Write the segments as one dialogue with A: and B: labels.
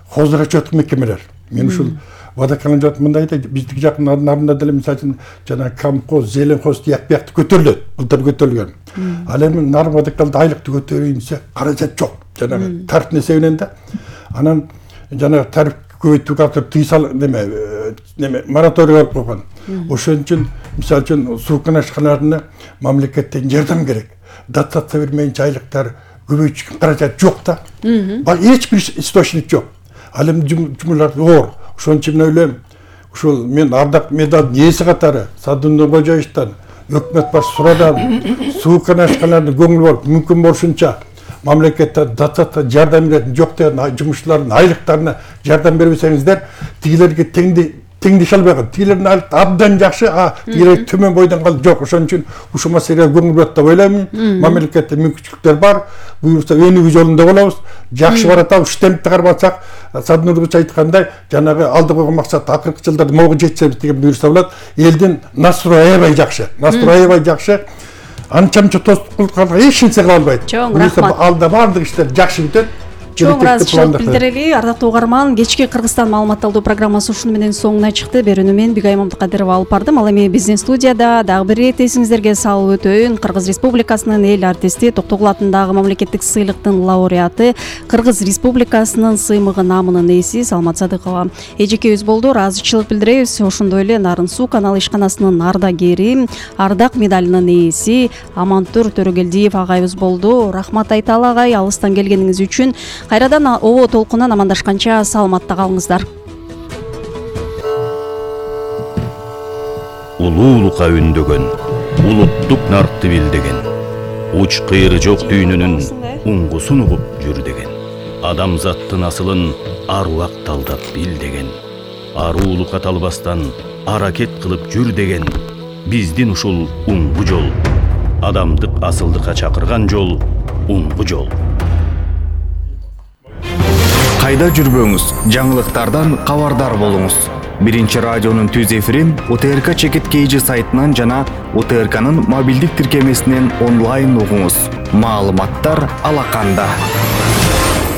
A: хозурачет мекемелер. Мен ушул Водоканал жат мындай да биздики жакын нарында деле мисалы үчүн жана камхоз, зеленхоз тиякты көтөрүлөт. Былтыр көтөрүлгөн. Ал эми нар водоканалда айлыкты көтөрөйүн десе каражат жок. Жанагы тариф эсебинен да. Анан жанагы тариф көбөйтүүгө атып тыйсал неме мораторий алып койгон. Ошон үчүн мисалы үчүн суу канашкаларына мамлекеттен жардам керек. Дотация бермейинче айлыктар көбөйтүшкө каражат жок да. Эч бир источник жок. Ал эми жумулар оор. Ошон үчүн мен ойлойм, ушул мен ардак медалдын ээси катары Садындын Кожоевичтан, өкмөт башчысы сурадан суу канашкаларына көңүл болуп, мүмкүн болушунча мамлекеттен дотация жардам беретін жоқ деген жұмысшылардың айлықтарына жардам бербесеңіздер, тигилерге теңдеше албайган. Тигилердин айлык абдан жакшы, тигилер төмөн бойдон калып жок. Ошон үчүн ушул маселеге көңүл бурат деп ойлойм. Мамлекетте мүмкүнчүлүктөр бар. Буюрса өнүгүү жолунда болобуз. Жакшы баратабыз, штемпти кармасак, Саднурбуч айткандай, жанагы алды койгон максат акыркы жылдарда могу жетсебиз деген буюрса болот. Элдин настрою аябай жакшы. Анча-мынча тостук кылганга эч нерсе кыла албайт.
B: Чоң рахмат.
A: Алда бардык иштер жакшы бүтөт.
B: Чоң ыраазычылык билдирели. Ардактуу угарман, кечки Кыргызстан маалымат алуу программасы ушуну менен соңуна чыкты. Берүүнү мен Бигай Мамдыкадырова алып бардым. Ал эми биздин студияда дагы бир ирет эсиңиздерге салып өтөйүн. Кыргыз Республикасынын эл артисти, Токтогул атындагы мамлекеттик сыйлыктын лауреаты, Кыргыз Республикасынын сыймыгы наамынын ээси Салмат Садыкова эжекебиз болду. Ыраазычылык билдиребиз. Ошондой эле Нарын суу каналы ишканасынын ардагери, ардак медалынын ээси Амантур Төрөгелдиев агайыбыз болду. Рахмат айталы агай, алыстан келгениңиз үчүн. Кайрадан оо толкунан амандашканча саламатта калыңыздар.
C: Улуулукка үндөгөн, улуттук нартты билдеген, уч кыйры жок дүйнөнүн уңгусун угуп жүр деген. Адамзаттын асылын аруак талдап бил деген. Аруулукка талбастан аракет кылып жүр деген. Биздин ушул уңгу жол, адамдык асылдыкка чакырган жол, уңгу жол.
D: Кайда жүрбөңүз, жаңылыктардан кабардар болуңуз. Биринчи радионун түз эфирин УТРК Чекит KG сайтынан жана УТРКнын мобилдик тиркемесинен онлайн угуңуз. Маалыматтар алаканда.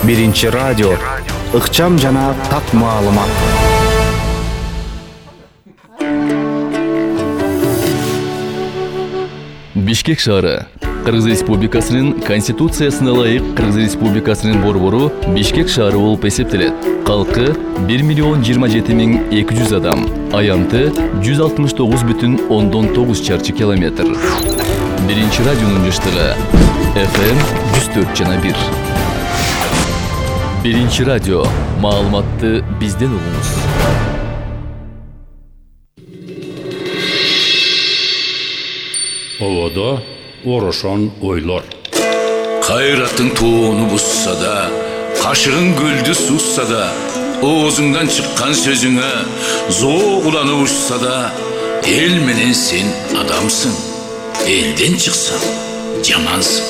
D: Биринчи радио, ыкчам жана так маалымат.
E: Бишкек шаары. Кыргыз Республикасынын Конституциясына ылайык Кыргыз Республикасынын борбору Бишкек шаары болуп эсептелет. Калкы 1,027,200 адам. Аянты 169,9 чарчы километр. Биринчи радионун жыштыгы FM 104,1. Биринчи радио. Маалыматты бизден угуңуз.
F: Ободо орошон ойлор.
G: Кайраттың тоону бусса да, кашыгың гүлдү сусса да, оозуңдан чыккан сөзүңө зоо куланып учса да, эл менен сен адамсың. Элден чыксаң жамансың.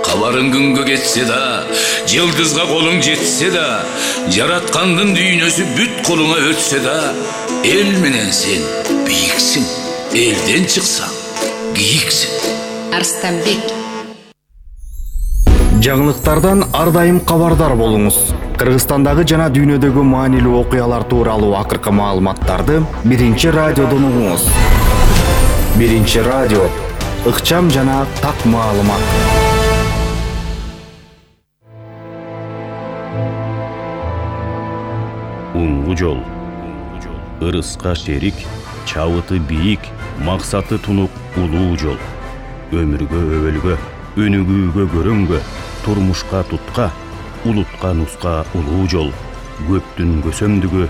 G: Кабарың күнгө кетсе да, жылдызга колуң жетсе да, жараткандын дүйнөсү бүт колуңа өтсө да, эл менен сен бийиксиң. Элден чыксаң кийиксиң.
H: Арстанбек.
D: Жаңылыктардан ар дайым кабардар болуңуз. Кыргызстандагы жана дүйнөдөгү маанилүү окуялар тууралуу акыркы маалыматтарды Биринчи радиодон угуңуз. Биринчи радио, ыкчам жана так маалымат.
C: Уңгу жол. Ырыска шерик, чабыты бийик, максаты тунук улуу жол. Өмүргө өбөлгө, өнүгүүгө көрөнгө, турмушка тутка, улутка нуска улуу жол. Көптүн көсөмдүгү,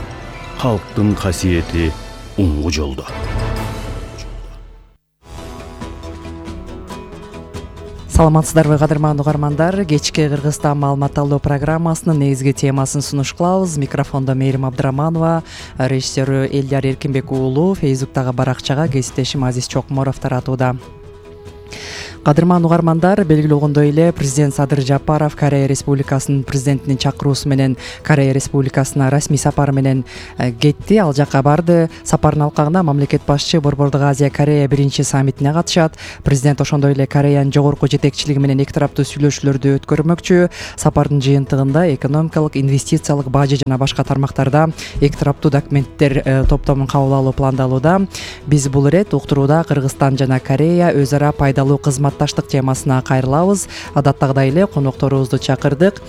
C: халктын касиети уңгу жолдо.
I: Саламатсыздарбы кадырман угармандар, кечки Кыргызстан маалымат алуу программасынын негизги темасын сунуш кылабыз. Микрофондо Мээрим Абдыраманова, режиссеру Элдияр Эркинбек уулу, Фейсбуктагы баракчага кесиптешим Азиз Чокморов таратууда. Кадырман угармандар, белгилүү болгондой эле президент Садыр Жапаров Корея Республикасынын президентинин чакыруусу менен Корея Республикасына расмий сапары менен кетти. Ал жакка барды. Сапардын алкагында мамлекет башчы Борбордук Азия Корея биринчи саммитине катышат. Президент ошондой эле Кореянын жогорку жетекчилиги менен эки тараптуу сүйлөшүүлөрдү өткөрмөкчү. Сапардын жыйынтыгында экономикалык, инвестициялык, бажы жана башка тармактарда эки тараптуу документтер топтомун кабыл алуу пландалууда. Биз бул ирет уктурууда Кыргызстан жана Корея өз ара пайдалуу кызматташтык темасына кайрылабыз. Адаттагыдай эле конокторубузду чакырдык.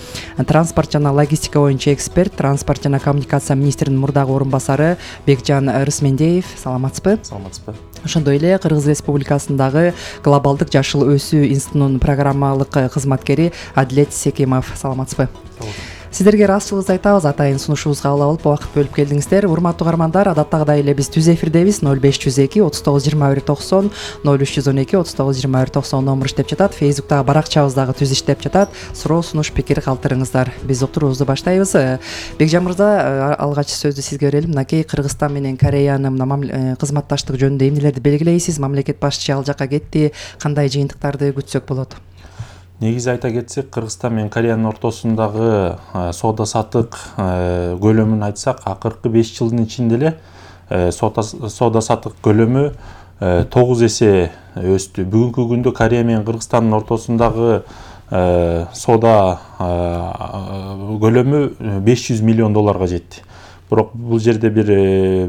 I: Транспорт жана логистика боюнча эксперт, транспорт жана коммуникация министринин мурдагы орун басары Бекжан Рысмендеев. Саламатсызбы?
H: Саламатсызбы.
I: Ошондой эле Кыргыз Республикасындагы Глобалдык жашыл өсүү институтунун программалык кызматкери Адилет Секимов. Саламатсызбы? Сиздерге ыраазычылыгыбызды айтабыз. Атайын сунушубузга кабыл алып, убакыт бөлүп келдиңиздер. Урматтуу угармандар, адаттагыдай эле биз түз эфирдебиз. 0502 39 21 90, 0312 39 21 90 номер иштеп жатат. Фейсбуктагы баракчабыз дагы түз иштеп жатат. Суроо, сунуш, пикир калтырыңыздар. Биз уктуруубузду баштайбыз. Бекжан мырза, алгач сөздү сизге берелим. Мынакей Кыргызстан менен Кореянын кызматташтык жөнүндө эмнелерди белгилейсиз? Мамлекет башчы ал жакка кетти. Кандай жыйынтыктарды күтсөк болот?
H: Негизи айта кетсек, Кыргызстан менен Кореянын ортосундагы соода саттык көлөмүн айтсак, акыркы 5 жылдын ичинде эле соода саттык көлөмү 9 эсе өстү. Бүгүнкү күндө Корея менен Кыргызстандын ортосундагы соода көлөмү 500 миллион долларга жетти. Бирок бул жерде бир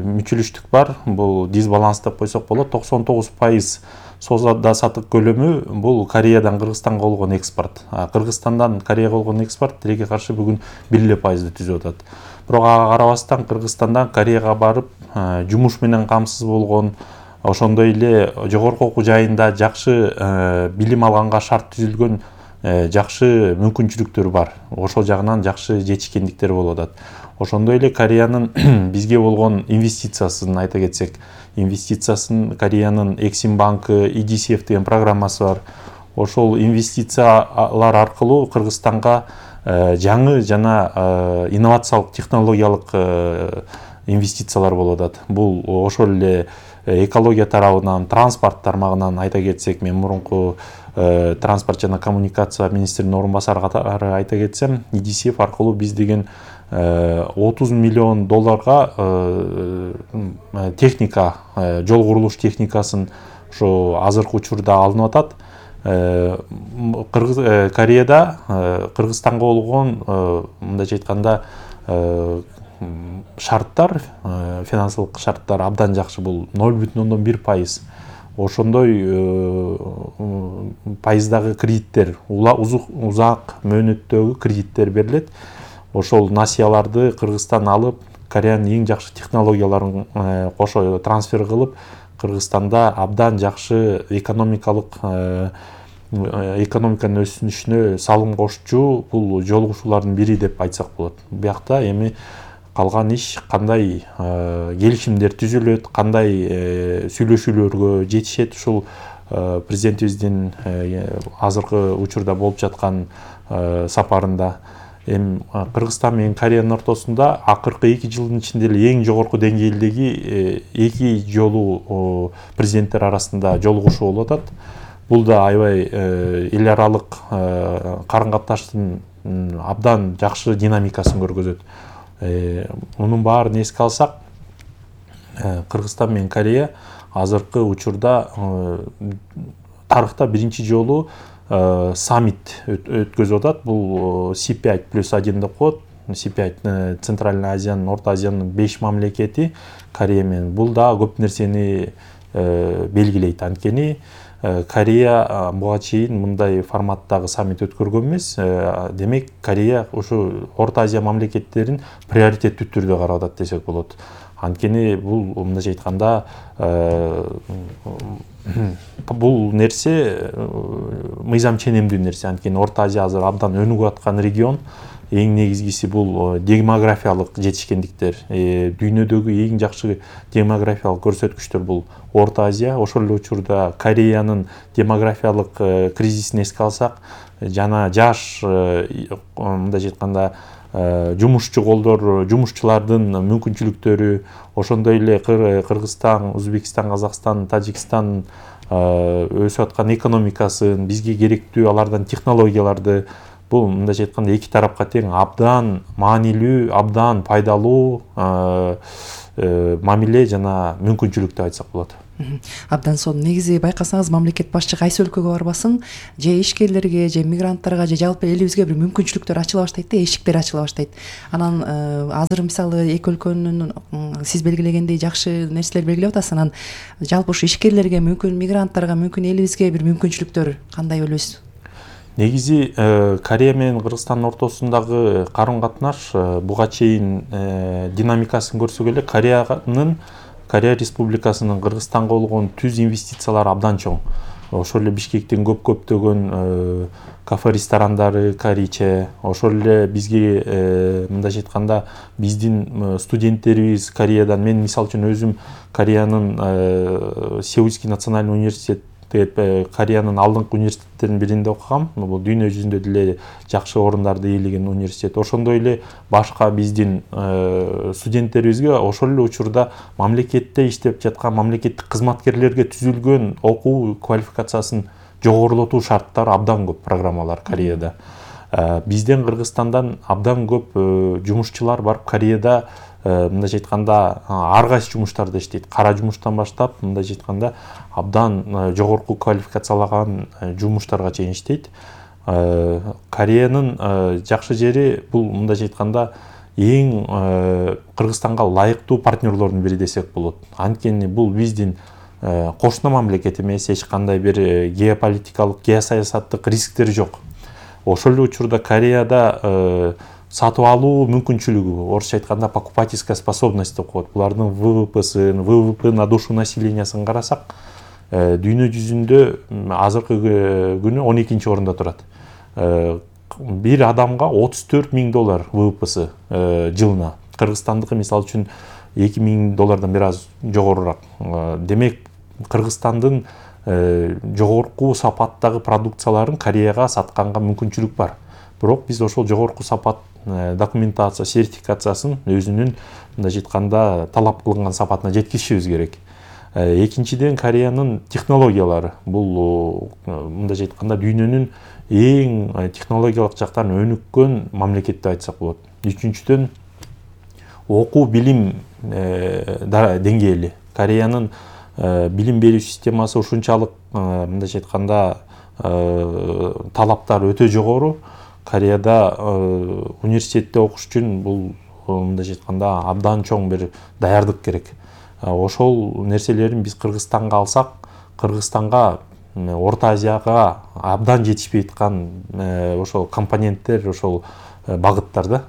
H: мүчүлүштүк бар. Бул дисбаланс деп койсок болот. 99% соода саттык көлөмү бул Кореядан Кыргызстанга болгон экспорт. Кыргызстандан Кореяга болгон экспорт тилекке каршы бүгүн 1% түзүп атат. Бирок ага карабастан Кыргызстандан Кореяга барып жумуш менен камсыз болгон, ошондой эле жогорку окуу жайында жакшы билим алганга шарт түзүлгөн жакшы мүмкүнчүлүктөр бар. Ошол жагынан жакшы жетишкендиктер болуп атат. Ошондой эле Кореянын бизге болгон инвестициясын айта кетсек, инвестициясын Кореянын Эксим банкы, EDCF деген программасы бар. Ошол инвестициялар аркылуу Кыргызстанга жаңы жана инновациялык технологиялык инвестициялар болуп атат. Бул ошол эле экология тарабынан, транспорт тармагынан айта кетсек, мен мурунку транспорт жана коммуникация министринин орун басары катары айта кетсем, EDCF аркылуу биз деген 30 миллион долларга техника, жол курулуш техникасын ошо азыркы учурда алынып атат. Кореяда Кыргызстанга болгон мындайча айтканда шарттар, финансылык шарттар абдан жакшы. Бул 0,1%. Ошондой пайыздагы кредиттер, узак мөөнөттөгү кредиттер берилет. Ошол насыяларды Кыргызстан алып, Кореянын эң жакшы технологияларын кошо трансфер кылып, Кыргызстанда абдан жакшы экономиканын өсүшүнө салым кошчу бул жолугушуулардын бири деп айтсак болот. Биякта эми калган иш кандай келишимдер түзүлөт, кандай сүйлөшүүлөргө жетишет, ушул президентибиздин азыркы учурда болуп жаткан сапарында. Кыргызстан менен Кореянын ортосунда акыркы 2 жылдын ичинде эле эң жогорку деңгээлдеги эки жолу президенттер арасында жолугушуу болуп атат. Бул да аябай эл аралык карым-катыштын абдан жакшы динамикасын көргөзөт. Мунун баарын эске алсак, Кыргызстан менен Корея азыркы учурда тарыхта биринчи жолу саммит өткөзүп атат. Бул C5+1 деп коет. C5 Центральный Азиянын, Орто Азиянын 5 мамлекети Корея менен. Бул да көп нерсени белгилейт. Анткени Корея буга чейин мындай форматтагы саммит өткөргөн эмес. Демек, Корея ушу Орто Азия мамлекеттерин приоритеттүү түрдө карап атат десек болот. Анткени бул мындайча айтканда бул нерсе мыйзам ченемдүү нерсе. Анткени Орто Азия азыр абдан өнүгүп аткан регион. Эң негизгиси бул демографиялык жетишкендиктер. Дүйнөдөгү эң жакшы демографиялык көрсөткүчтөр бул Орто Азия. Ошол эле учурда Кореянын демографиялык кризисин эске алсак, жана жаш мындайча айтканда жумушчу колдор, жумушчулардын мүмкүнчүлүктөрү, ошондой эле Кыргызстан, Өзбекстан, Казакстан, Тажикстан өсүп аткан экономикасын, бизге керектүү алардан технологияларды, бул мындайча айтканда эки тарапка тең абдан маанилүү, абдан пайдалуу мамиле жана мүмкүнчүлүк деп айтсак болот.
I: Абдан сонун. Негизи байкасаңыз, мамлекет башчы кайсы өлкөгө барбасын, же ишкерлерге, же мигранттарга, же жалпы элибизге бир мүмкүнчүлүктөр ачыла баштайт да, эшиктер ачыла баштайт. Анан азыр мисалы эки өлкөнүн сиз белгилегендей жакшы нерселер белгилеп атасыз. Анан жалпы ушу ишкерлерге, мүмкүн мигранттарга, мүмкүн элибизге бир мүмкүнчүлүктөр кандай ойлойсуз?
H: Негизи Корея менен Кыргызстандын ортосундагы карым-катнаш буга чейин динамикасын көрсөк эле Корея Республикасынын Кыргызстанга болгон түз инвестициялары абдан чоң. Ошол эле Бишкектин көптөгөн кафе ресторандары, корейче, ошол эле бизге мындайча айтканда биздин студенттерибиз Кореядан, мен мисалы үчүн өзүм Кореянын Сеульский национальный университет деп Кореянын алдыңкы университеттеринин биринде окугам. Бул дүйнө жүзүндө деле жакшы орундарды ээлеген университет. Ошондой эле башка биздин студенттерибизге ошол эле учурда мамлекетте иштеп жаткан мамлекеттик кызматкерлерге түзүлгөн окуу квалификациясын жогорулатуу шарттары абдан көп программалар Кореяда. Бизден Кыргызстандан абдан көп жумушчулар барып Кореяда мындайча айтканда ар кайсы жумуштарда иштейт. Кара жумуштан баштап мындайча айтканда абдан жогорку квалификациялаган жумуштарга чейин иштейт. Кореянын жакшы жери бул мындайча айтканда эң Кыргызстанга ылайыктуу партнерлордун бири десек болот. Анткени бул биздин кошуна мамлекет эмес, эч кандай бир геополитикалык, геосаясаттык рисктери жок. Ошол эле учурда Кореяда сатып алуу мүмкүнчүлүгү, орусча айтканда покупательская способность деп коет. Булардын ВВП на душу населениясын карасак, дүйнө жүзүндө азыркы күнү 12-чи орунда турат. Бир адамга $34,000 ВВПсы жылына. Кыргызстандыкы мисалы үчүн $2,000 бир аз жогорурак. Демек, Кыргызстандын жогорку сапаттагы продукцияларын Кореяга сатканга мүмкүнчүлүк бар. Бирок биз ошол жогорку сапат документация, сертификациясын өзүнүн мындайча айтканда талап кылынган сапатына жеткизишибиз керек. Экинчиден, Кореянын технологиялары. Бул мындайча айтканда дүйнөнүн эң технологиялык жактан өнүккөн мамлекет деп айтсак болот. Үчүнчүдөн, окуу билим деңгээли. Кореянын билим берүү системасы ушунчалык мындайча айтканда талаптар өтө жогору. Кореяда университетте окуш үчүн бул мындайча айтканда абдан чоң бир даярдык керек. Ошол нерселерин биз Кыргызстанга алсак, Кыргызстанга Орто Азияга абдан жетишпей аткан ошол компоненттер, ошол багыттар да.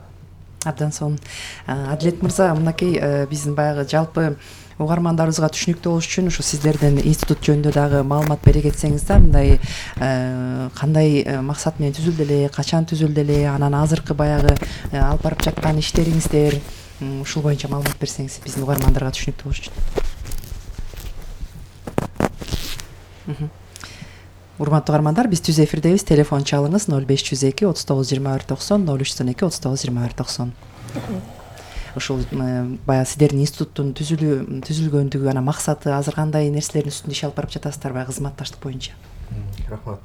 I: Абдан сонун. Адилет мырза, мынакей биздин баягы жалпы угармандарыбызга түшүнүктүү болуш үчүн ушу сиздердин институт жөнүндө дагы маалымат бере кетсеңиз да, мындай кандай максат менен түзүлдү эле, качан түзүлдү эле, анан азыркы баягы алып барып жаткан иштериңиздер, ушул боюнча маалымат берсеңиз биздин угармандарга түшүнүктүү болуш үчүн. Урматтуу угармандар, биз түз эфирдебиз. Телефон чалыңыз 0502 39 21 90, 0312 39 21 90. Ушул баягы сиздердин институттун түзүлгөндүгү, анан максаты, азыр кандай нерселердин үстүндө иш алып барып жатасыздар баягы кызматташтык боюнча?
J: Рахмат.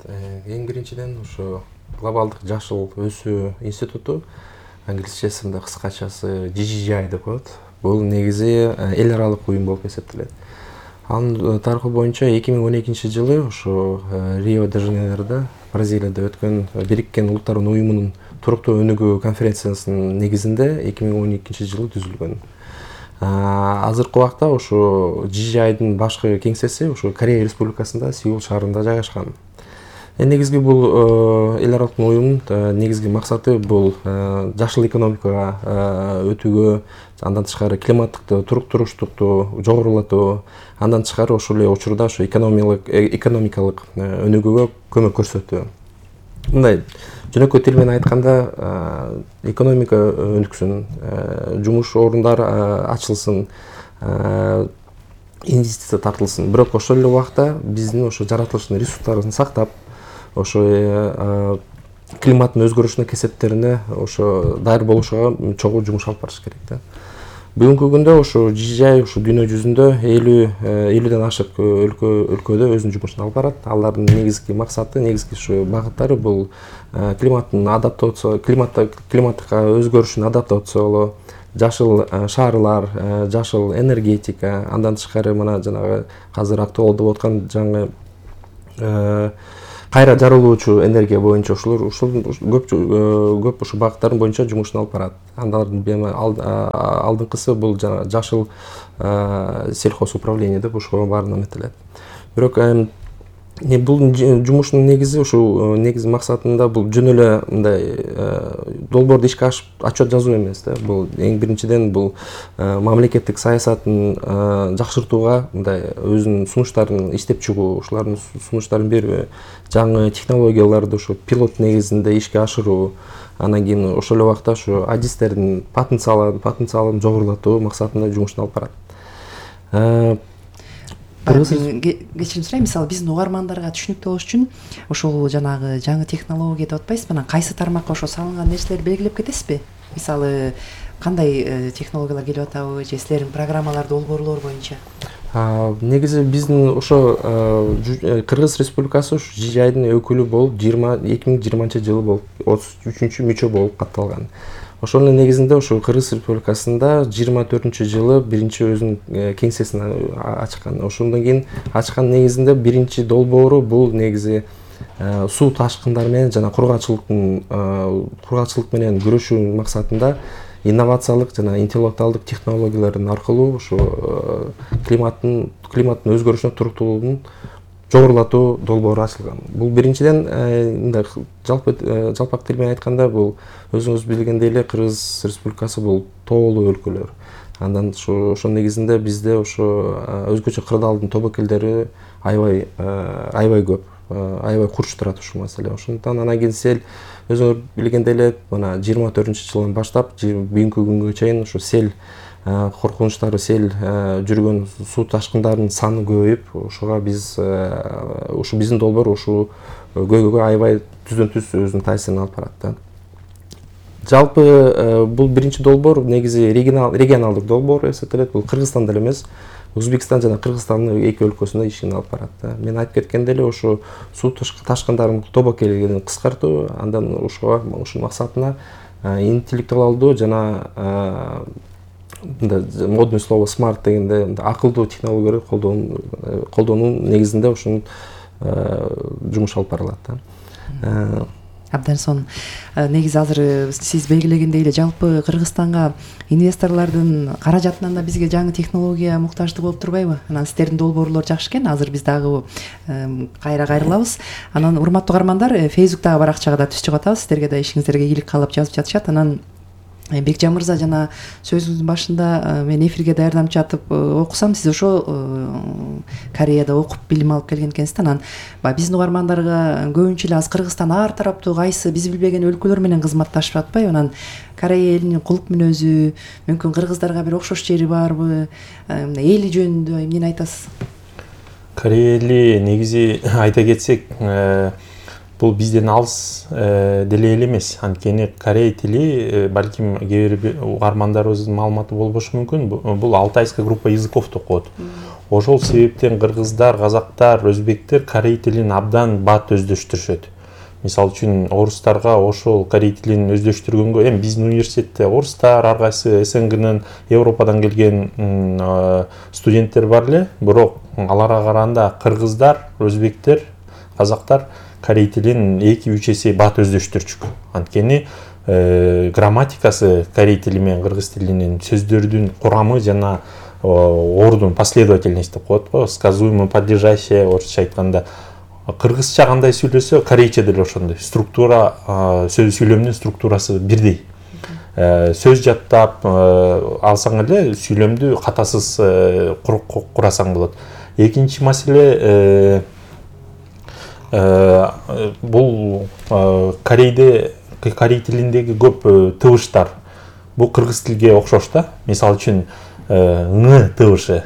J: Эң биринчиден ушу глобалдык жашыл өсүү институту, англисчесинде кыскачасы GGI деп коет. Бул негизи эл аралык уюм болуп эсептелет. Анын тарыхы боюнча 2012 жылы ушу Рио-де-Жанейрода, Бразилияда өткөн Бириккен Улуттардын уюмунун туруктуу өнүгүү конференциясынын негизинде 2012 жылы түзүлгөн. Азыркы убакта ушу GGI-дын башкы кеңсеси ушу Корея Республикасында Сеул шаарында жайгашкан. Негизги бул эл аралык уюмдун негизги максаты бул жашыл экономикага өтүүгө, андан тышкары климаттык туруктуруштукту жогорулатуу, андан тышкары ошол эле учурда ошо экономикалык өнүгүүгө көмөк көрсөтүү. Мындай жөнөкөй тил менен айтканда, экономика өнүксүн, жумуш орундары ачылсын, инвестиция тартылсын. Бирок ошол эле убакта биздин ошо жаратылыштын ресурстарын сактап, ошо климаттын өзгөрүшүнө кесептерине ошо даяр болушуга чогуу жумуш алып барыш керек да. Бүгүнкү күндө ушу DJI ушу дүйнө жүзүндө 50ден ашык өлкөдө өзүнүн жумушун алып барат. Алардын негизги максаты, негизги ушу багыттары бул климатка өзгөрүшүн адаптациялоо, жашыл шаарлар, жашыл энергетика, андан тышкары мына жанагы азыр актуалдуу болуп аткан жаңы кайра жарылуучу энергия боюнча ушул көп ушу багыттардын боюнча жумушун алып барат. Алардын алдыңкысы бул жана жашыл сельхозуправление деп ошого баарына эметилет. Бирок бул жумуштун негизи ушул негизи максатында бул жөн эле мындай долбоорду ишке отчет жазуу эмес да. Бул эң биринчиден бул мамлекеттик саясатын жакшыртууга, мындай өзүнүн сунуштарын иштеп чыгуу, ушулардын сунуштарын берүү, жаңы технологияларды ушу пилот негизинде ишке ашыруу, анан кийин ошол эле убакта ушу адистердин потенциалын жогорулатуу максатында жумушун алып барат.
I: Кечирим сурайм, мисалы биздин угармандарга түшүнүктүү болуш үчүн ошол жанагы жаңы технология деп атпайсызбы, анан кайсы тармакка ошо салынган нерселерди белгилеп кетесизби? Мисалы кандай технологиялар келип атабы же силердин программалар, долбоорлор боюнча?
J: Негизи биздин ошо Кыргыз Республикасы ушу DJI-дин өкүлү болуп 2020-жылы болуп 33-мүчө мүчө болуп катталган. Ошонун негизинде ошо Кыргыз Республикасында 24-жылы биринчи өзүнүн кеңсесин ачкан. Ошондон кийин ачкан негизинде биринчи долбоору бул негизи суу ташкындары менен жана кургакчылык менен күрөшүү максатында инновациялык жана интеллектуалдык технологиялардын аркылуу ушу климаттын өзгөрүшүнө туруктуулугун жогорулатуу долбоору ачылган. Бул биринчиден мындай жалпак тил менен айтканда бул өзүңүз билгендей эле Кыргыз Республикасы бул тоолуу өлкөлөр. Андан ошол негизинде бизде ошо өзгөчө кырдаалдын тобокелдери аябай көп, аябай курч турат ушул маселе. Ошондуктан анан кийин сел өзүңөр билгендей эле мына 24-жылдан баштап бүгүнкү күнгө чейин ушу сел коркунучтары, сел жүргөн суу ташкындарынын саны көбөйүп, ошого биз ушу биздин долбоор ушу көйгөйгө аябай түздөн-түз өзүнүн таасирин алып барат да. Жалпы бул биринчи долбоор негизи регионалдык долбоор эсептелет. Бул Кыргызстанда эле эмес, Өзбекстан жана Кыргызстандын эки өлкөсүндө ишин алып барат да. Мен айтып кеткендей эле ошо суу ташкындарынын тобокелин кыскартуу, андан ушул максатына интеллектуалдуу жана модный слово смарт дегенде акылдуу технологияларды колдоонун негизинде ушунун жумуш алып барылат да.
I: Абдан сонун. Негизи азыр сиз белгилегендей эле жалпы Кыргызстанга инвесторлордун каражатынан да бизге жаңы технология муктаждык болуп турбайбы? Анан сиздердин долбоорлор жакшы экен. Азыр биз дагы кайра кайрылабыз. Анан урматтуу угармандар, Facebook'тагы баракчага да түз чыгып атабыз. Сиздерге да ишиңиздерге ийгилик каалап жазып жатышат. Анан Бекжан мырза, жана сөзүңүздүн башында мен эфирге даярданып жатып окусам, сиз ошо Кореяда окуп билим алып келген экенсиз. Анан биздин угармандарга көбүнчө эле азыр Кыргызстан ар тараптуу кайсы биз билбеген өлкөлөр менен кызматташып атпайбы? Анан Корея элинин кулук мүнөзү, мүмкүн кыргыздарга бир окшош жери барбы? Эли жөнүндө эмнени айтасыз?
H: Корея эли негизи айта кетсек, бул бизден алыс деле эле эмес. Анткени корей тили балким кээ бир угармандарыбыздын маалыматы болбошу мүмкүн. Бул алтайская группа языков деп коет. Ошол себептен кыргыздар, казактар, өзбектер корей тилин абдан бат өздөштүрүшөт. Мисалы үчүн орустарга ошол корей тилин өздөштүргөнгө, эми биздин университетте орустар, ар кайсы СНГнын, Европадан келген студенттер бар эле, бирок аларга караганда кыргыздар, өзбектер, казактар корей тилин 2-3 эсе бат өздөштүрчүк. Анткени грамматикасы корей тили менен кыргыз тилинин сөздөрдүн курамы жана ордун последовательность деп коет го, сказуемое, подлежащее, орусча айтканда. Кыргызча кандай сүйлөсө, корейче деле ошондой. Структура, сөз сүйлөмдүн структурасы бирдей. Сөз жаттап алсаң эле сүйлөмдү катасыз курасаң болот. Экинчи маселе, бул корей тилиндеги көп тыбыштар бул кыргыз тилге окшош да. Мисалы үчүн ң тыбышы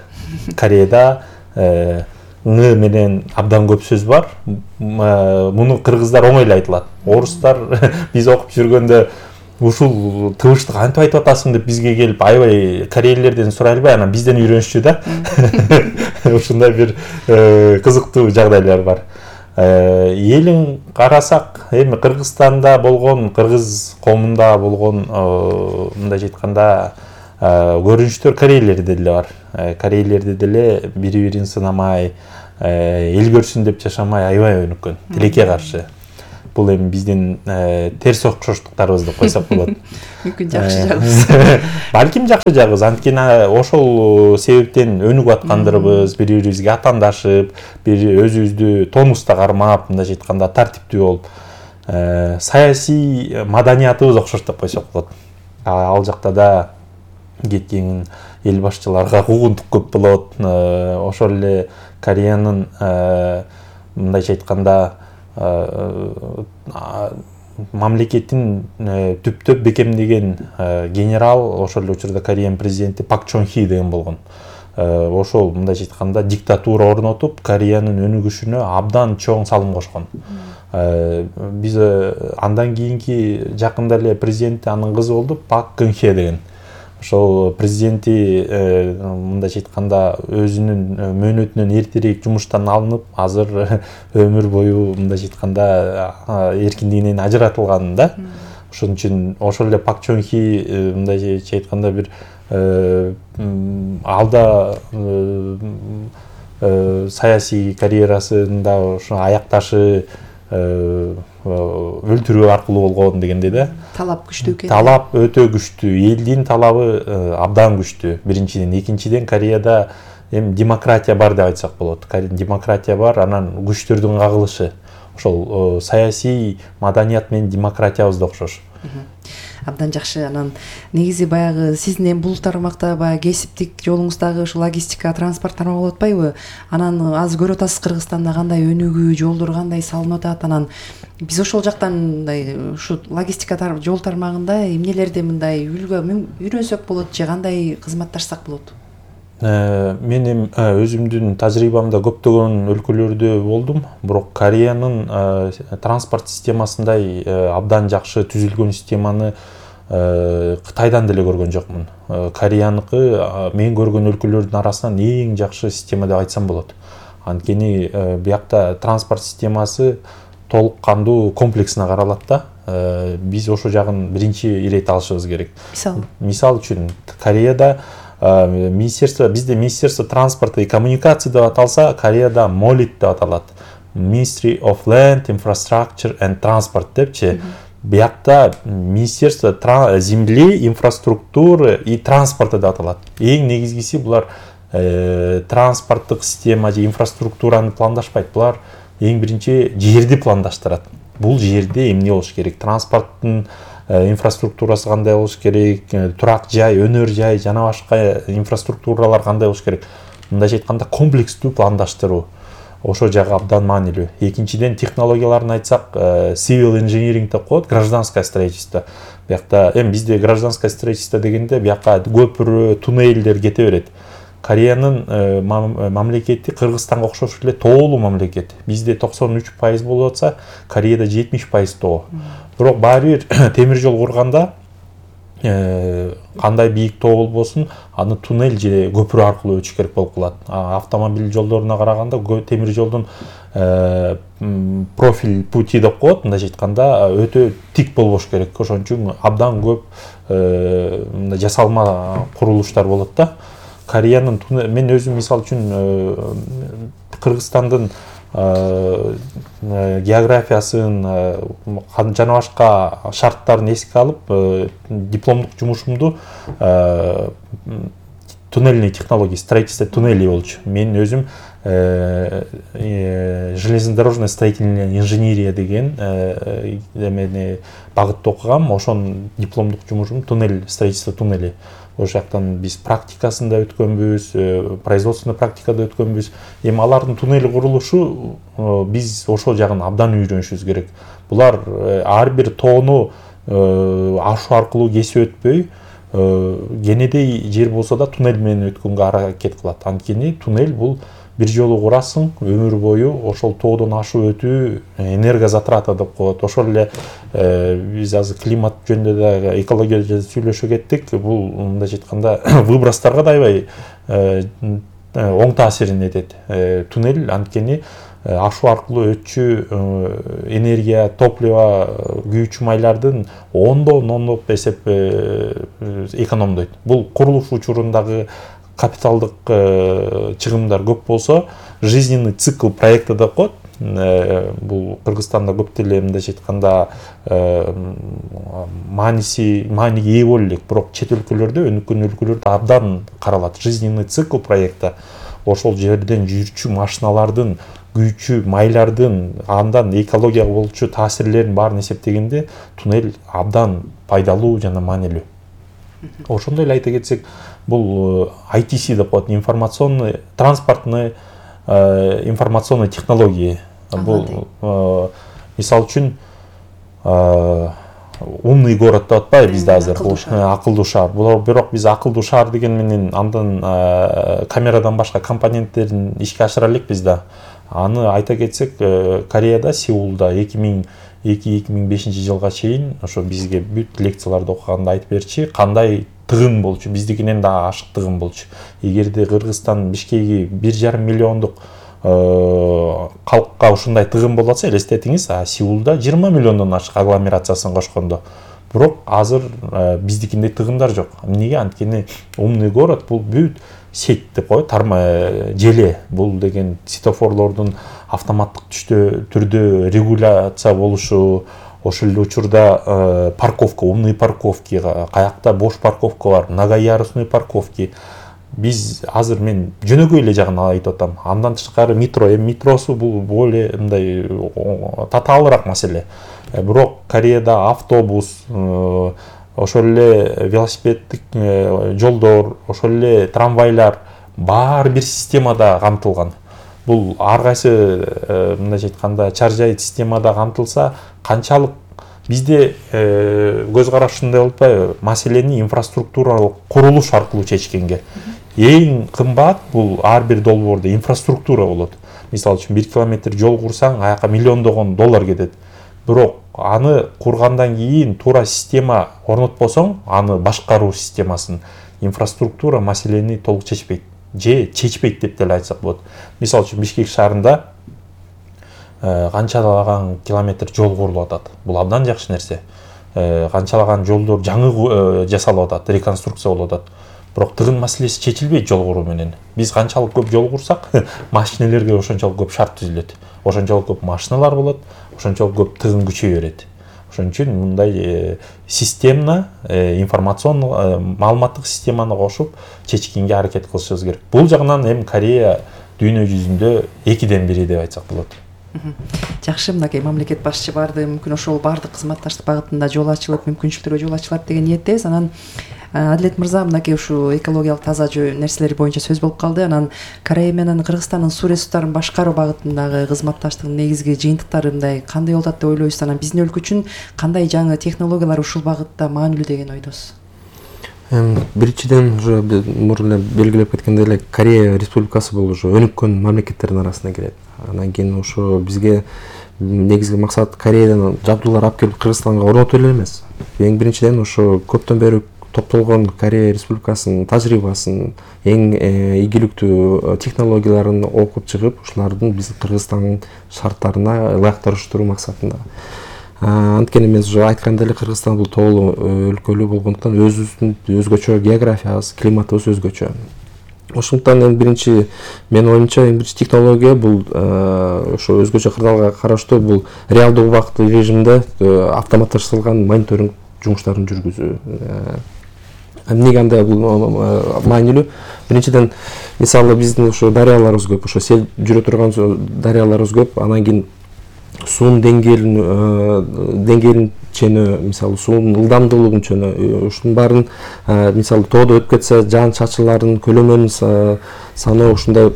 H: Кореяда ң менен абдан көп сөз бар. Муну кыргыздар оңой эле айтылат. Орустар биз окуп жүргөндө ушул тыбыштык кантип айтып атасың деп бизге келип аябай корейлерден сурай албай анан бизден үйрөнүшчү да. Ушундай бир кызыктуу жагдайлар бар. Элин карасак, эми Кыргызстанда болгон, кыргыз коомунда болгон мындай айтканда көрүнүштөр корейлерде деле бар. Корейлерде деле бири-бирин сынамай, эл көрсүн деп жашамай аябай өнүккөн, тилекке каршы. Бул эми биздин терс окшоштуктарыбыз деп койсок болот.
I: Мүмкүн жакшы жагыбыз.
H: Балким жакшы жагыбыз, анткени ошол себептен өнүгүп аткандырбыз, бири-бирибизге атаандашып, бир өзүбүздү тонуста кармап, мындай айтканда тартиптүү болуп, саясий маданиятыбыз окшош деп койсок болот. Ал жакта да кеткен эл башчыларга куугунтук көп болот. Ошол эле Кореянын мындай айтканда мамлекеттин түптөп бекемдеген генерал ошол эле учурда Кореянын президенти Пак Чон Хи деген болгон. Ошол мындай айтканда диктатура орнотуп, Кореянын өнүгүшүнө абдан чоң салым кошкон. Биз андан кийинки жакында эле президенти анын кызы болду, Пак Кын Хе деген. Ошол президенти мындай айтканда өзүнүн мөөнөтүнөн эртерээк жумуштан алынып, азыр өмүр бою мындай айтканда эркиндигинен ажыратылган да. Ошон үчүн ошол эле Пак Чон Хи мындай айтканда бир алда саясий карьерасында ошо аякташы өлтүрүү аркылуу болгон дегенде да.
I: Талап күчтүү экен.
H: Талап өтө күчтүү, элдин талабы абдан күчтүү. Биринчиден, экинчиден Кореяда эми демократия бар деп айтсак болот. Демократия бар, анан күчтөрдүн кагылышы. Ошол саясий маданият менен демократиябыз да окшош.
I: Абдан жакшы. Анан негизи баягы сиздин эми бул тармакта баягы кесиптик жолуңуздагы ушу логистика, транспорт тармагы болуп атпайбы? Анан азыр көрүп атасыз Кыргызстанда кандай өнүгүү, жолдор кандай салынып атат. Анан биз ошол жактан мындай ушу логистика жол тармагында эмнелерди мындай үйрөнсөк болот же кандай кызматташсак болот?
H: Мен өзүмдүн тажрыйбамда көптөгөн өлкөлөрдө болдум, бирок Кореянын транспорт системасындай абдан жакшы түзүлгөн системаны Кытайдан деле көргөн жокмун. Кореяныкы мен көргөн өлкөлөрдүн арасынан эң жакшы система деп айтсам болот. Анткени биякта транспорт системасы толук кандуу комплексине каралат да. Биз ошол жагын биринчи ирет алышыбыз керек. Мисал үчүн Кореяда bizde Министерство транспорта и коммуникации деп аталса, Кореяда MOLIT деп аталат. Ministry of Land, Infrastructure and Transport депчи. Биякта Министерство земли, инфраструктуры и транспорта деп аталат. Эң негизгиси булар транспорттук система же инфраструктураны пландашпайт. Булар эң биринчи жерди пландаштырат. Бул жерде эмне болуш керек? Транспорттун инфраструктурасы кандай болуш керек, турак жай, өнөр жай, жана башка инфраструктуралар кандай болуш керек. Мындай айтканда комплекстүү пландаштыруу. Ошо жагы абдан маанилүү. Экинчиден технологияларын айтсак, civil engineering деп коет, гражданское строительство. Биякта эми бизде гражданское строительство дегенде биякка көпүрө, туннелдер кете берет. Кореянын мамлекети Кыргызстанга окшош эле тоолуу мамлекет. Бизде 93% болуп атса, Кореяда 70% тоо. Бирок баары бир темир жол курганда кандай бийик тоо болбосун, аны туннель же көпүрө аркылуу өтүш керек болуп калат. Автомобиль жолдоруна караганда темир жолдун профиль пути деп коет, мындай айтканда өтө тик болбош керек. Ошон үчүн абдан көп жасалма курулуштар болот да. Кореянын мен өзүм мисал үчүн Кыргызстандын географиясын жана башка шарттарын эске алып, дипломдук жумушумду туннельный технология, строительство туннелей болчу. Мен өзүм железнодорожная строительная инженерия деген багытты окугам. Ошон дипломдук жумушум туннель, строительство туннелей. Ошол жактан биз практикасында өткөнбүз, производственный практикада өткөнбүз. Эми алардын туннель курулушу биз ошол жагын абдан үйрөнүшүбүз керек. Булар ар бир тоону ашуу аркылуу кесип өтпөй, кенедей жер болсо да туннель менен өткөнгө аракет кылат. Анткени туннель бул бир жолу курасың, өмүр бою ошол тоодон ашып өтүү энергозатрата деп коет. Ошол эле биз азыр климат жөнүндө да экология жөнүндө сүйлөшө кеттик. Бул мындай айтканда выбростарга да аябай оң таасирин этет. Туннель анткени ашуу аркылуу өтчү энергия, топливо, күйүүчү майлардын ондоп эсеп экономдойт. Бул курулуш учурундагы капиталдык чыгымдар көп болсо, жизненный цикл проекта деп коет. Бул Кыргызстанда көп деле мындайча айтканда мааниге ээ боло элек, бирок чет өлкөлөрдө, өнүккөн өлкөлөрдө абдан каралат. Жизненный цикл проекта ошол жерден жүрчү машиналардын, күйүүчү майлардын, андан экологияга болчу таасирлерин баарын эсептегенде туннель абдан пайдалуу жана маанилүү. Ошондой эле айта кетсек, бул ITC деп коет, информационный, транспортный, информационный технология. Бул мисалы үчүн умный город деп атпайбы бизде азыр, акылдуу шаар. Бирок биз акылдуу шаар деген менен андан камерадан башка компоненттерин ишке ашыра элекпиз да. Аны айта кетсек, Кореяда, Сеулда 2002-2005 жылга чейин ошо бизге бүт лекцияларды окуганда айтып берчи, кандай тыгын болчу, биздикинен да ашык тыгын болчу. Эгерде Кыргызстан Бишкеги 1,5 миллиондук калкка ушундай тыгын болуп атса, элестетиңиз, Сеулда 20 миллиондон ашык агломерациясын кошкондо. Бирок азыр биздикиндей тыгындар жок. Эмнеге? Анткени умный город бул бүт сеть деп коет, желе. Бул деген светофорлордун автоматтык түрдө регуляция болушу, ошол эле учурда парковка, умный парковки, каякта бош парковка бар, многоярусный парковки. Биз азыр мен жөнөкөй эле жагын айтып атам. Андан тышкары метро, метросу бул более мындай татаалыраак маселе. Бирок Кореяда автобус, ошол эле велосипеддик жолдор, ошол эле трамвайлар баары бир системада камтылган. Бул ар кайсы мындайча айтканда чаржай системада камтылса, канчалык бизде көз караш ушундай болуп атпайбы? Маселени инфраструктуралык курулуш аркылуу чечкенге. Эң кымбат бул ар бир долбоордо инфраструктура болот. Мисалы үчүн 1 километр жол курсаң, аяка миллиондогон доллар кетет. Бирок аны кургандан кийин туура система орнотпосоң, аны башкаруу системасын, инфраструктура маселени толук чечпейт. Же чечпейт деп деле айтсак болот. Мисалы үчүн Бишкек шаарында канчалаган километр жол курулуп атат. Бул абдан жакшы нерсе. Канчалаган жолдор жаңы жасалып атат, реконструкция болуп атат. Бирок тыгын маселеси чечилбейт жол куруу менен. Биз канчалык көп жол курсак, машинелерге ошончолук көп шарт түзүлөт. Ошончолук көп машиналар болот, ошончолук көп тыгын күчөй берет. Ошон үчүн мындай системно, информационный, маалыматтык системаны кошуп чечкенге аракет кылышыбыз керек. Бул жагынан эми Корея дүйнө жүзүндө 2ден 1 деп айтсак болот.
I: Жакшы, мынакей мамлекет башчы барды, мүмкүн ошол баардык кызматташтык багытында жол ачылып, мүмкүнчүлүктөргө жол ачылат деген ниеттебиз. Анан Адилет мырза, мынакей ушу экологиялык таза нерселер боюнча сөз болуп калды. Анан Корея менен Кыргызстандын суу ресурстарын башкаруу багытындагы кызматташтыктын негизги жыйынтыктары мындай кандай болот деп ойлойсуз? Анан биздин өлкө үчүн кандай жаңы технологиялар ушул багытта маанилүү деген ойдосуз?
J: Биринчиден уже мурун эле белгилеп кеткендей эле Корея Республикасы бул уже өнүккөн мамлекеттердин арасына кирет. Анан кийин ошо бизге негизги максат Кореядан жабдуулар алып келип Кыргызстанга орнотуу эле эмес. Эң биринчиден ошо көптөн бери топтолгон Корея Республикасынын тажрыйбасын, эң ийгиликтүү технологияларын окуп чыгып, ушулардын биз Кыргызстандын шарттарына ылайыкташтыруу максатында. Анткени мен уже айткандай эле Кыргызстан бул тоолуу өлкөлүү болгондуктан өзүбүздүн өзгөчө географиябыз, климатыбыз өзгөчө. Ошондуктан эң биринчи менин оюмча эң биринчи технология бул ошо өзгөчө кырдаалга караштуу бул реалдуу убакыттуу режимде автоматташтырылган мониторинг жумуштарын жүргүзүү. Эмнеге андай бул маанилүү? Биринчиден, мисалы биздин ошо дарыяларыбыз көп, ошо сел жүрө турган дарыяларыбыз көп, анан кийин суунун деңгээлин чөнөө, мисалы суунун ылдамдуулугун чөнөө, ушунун баарын мисалы тоодо өтүп кетсе, жаан чачылардын көлөмүн саноо, ушундай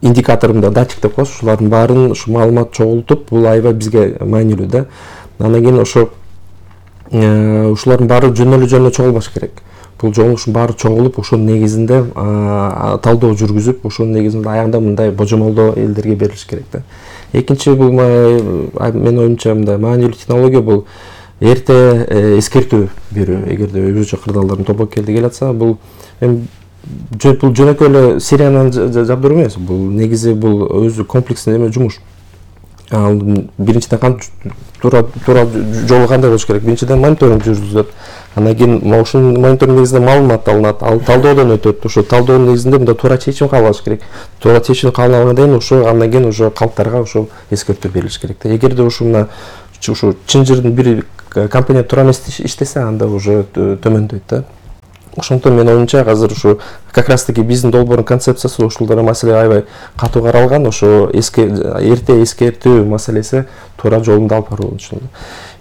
J: индикатор мындай датчик деп коебуз, ушулардын баарын ушу маалымат чогултуп, бул аябай бизге маанилүү да. Анан кийин ошо ушулардын баары жөнөлө чогулбаш керек. бул жолугушуунун баары чогулуп ошонун негизинде талдоо жүргүзүп ошонун негизинде аягында мындай божомолдоо элдерге берилиш керек да. Экинчи бул менин оюмча мындай маанилүү технология бул эрте эскертүү берүү. Эгерде өзгөчө кырдаалдардын тобокелди келатса, бул жөнөкөй эле сериянан жабдыруу эмес. Бул негизи бул өзү комплекстүү эме жумуш. Биринчиден туура жолу кандай болуш керек? Биринчиден мониторинг жүргүзүлөт. Андан кийин ошонун мониторинг негизинде маалымат алынат, ал талдоодон өтөт. Ошо талдоонун негизинде мында туура чечим кабыл алыш керек. Туура чечим кабыл алгандан кийин ошо андан кийин ошо калктарга ошо эскертүү берилиш керек. Эгерде ушуна ушу чын жырдын бир компания туура эмес иштесе, анда уже төмөндөйт да. Ошондон менин оюмча азыр ушу как раз таки биздин долбоордун концепциясы ушул маселе аябай катуу каралган. Ошо эрте эскертүү маселеси туура жолунда алып баруу болчу.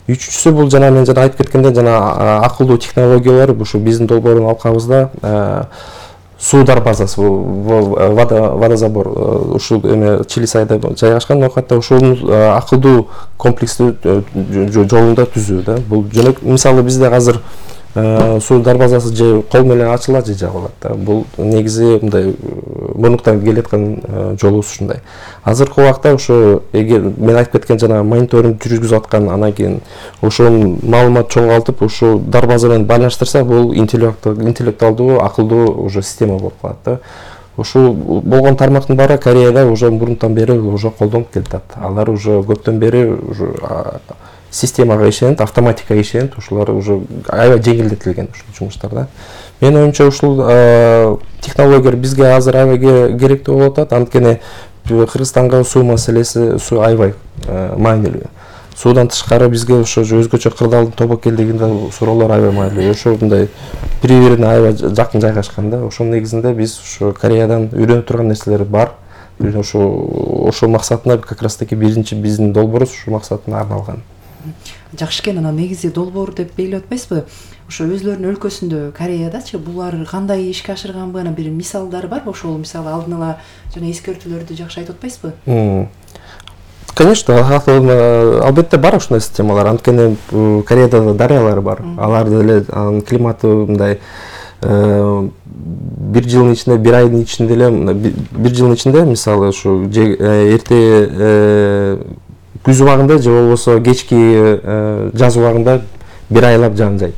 J: Үчүнчүсү бул жана мен айтып кеткендей, жана акылдуу технологиялар ушу биздин долбоордун алкабызда суу дарбазасы, водозабор ушул эме Чилисайда жайгашкан нокатта ошонун акылдуу комплекстүү жолунда түзүү да. Бул мисалы бизде азыр суу дарбазасы же кол менен ачылат же жабылат да. Бул негизи мындай мурнуктан келаткан жолубуз ушундай. Азыркы убакта ошо эгер мен айтып кеткен жана мониторинг жүргүзүп аткан, анан кийин ошол маалымат чоңойтуп ушул дарбаза менен байланыштырса, бул интеллектуалдуу акылдуу уже система болуп калат да. Ушул болгон тармактын баары Кореяда уже мурунтан бери уже колдонуп келатат. Алар уже көптөн бери уже системага ишенет, автоматикага ишенет, ушулар уже аябай жеңилдетилген ушул жумуштар да. Менин оюмча ушул технологиялар бизге азыр аябай керектүү болуп атат. Анткени Кыргызстанга суу маселеси аябай маанилүү. Суудан тышкары бизге ошо өзгөчө кырдаалдын тобокелдигинде суроолор аябай маанилүү. Ошо мындай бири-бирине аябай жакын жайгашкан да. Ошонун негизинде биз ошо Кореядан үйрөнүп турган нерселер бар. Ошол максатына как раз таки биринчи биздин долбоорубуз ушул максатына арналган.
I: Жакшы экен. Анан негизи долбоор деп белгилеп атпайсызбы? Ошо өзлөрүнүн өлкөсүндө Кореядачы булар кандай ишке ашырганбы, анан бир мисалдары барбы? Ошол мисалы алдын ала жана эскертүүлөрдү жакшы айтып атпайсызбы?
J: Конечно, албетте бар ушундай системалар. Анткени Кореяда дарыялар бар. Алар деле климаты мындай бир жылдын ичинде, бир айдын ичинде эле, бир жылдын ичинде мисалы ушу эрте күз убагында же болбосо кечки жаз убагында бир айлап жаан жайт.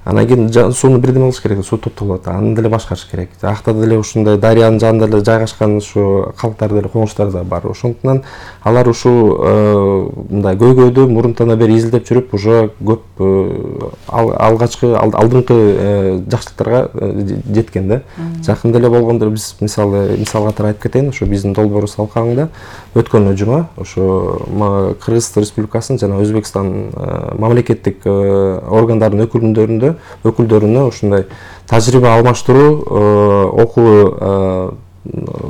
J: Анан кийин сууну бирден алыш керек, суу токтолот, аны деле башкарыш керек. Акта деле ушундай дарыянын жанында эле жайгашкан ушу калктар деле, коңуштар да бар. Ошондуктан алар ушул мындай көйгөйдү мурунтан бери изилдеп жүрүп, уже көп алдыңкы жакшылыктарга жеткен да. Жакында эле болгондо биз мисалы катары айтып кетейин, ошо биздин долбоорубуз алкагында өткөн жума ошо Кыргыз Республикасынын жана Өзбекстан мамлекеттик органдардын өкүлдөрүнө ушундай тажрыйба алмаштыруу окуу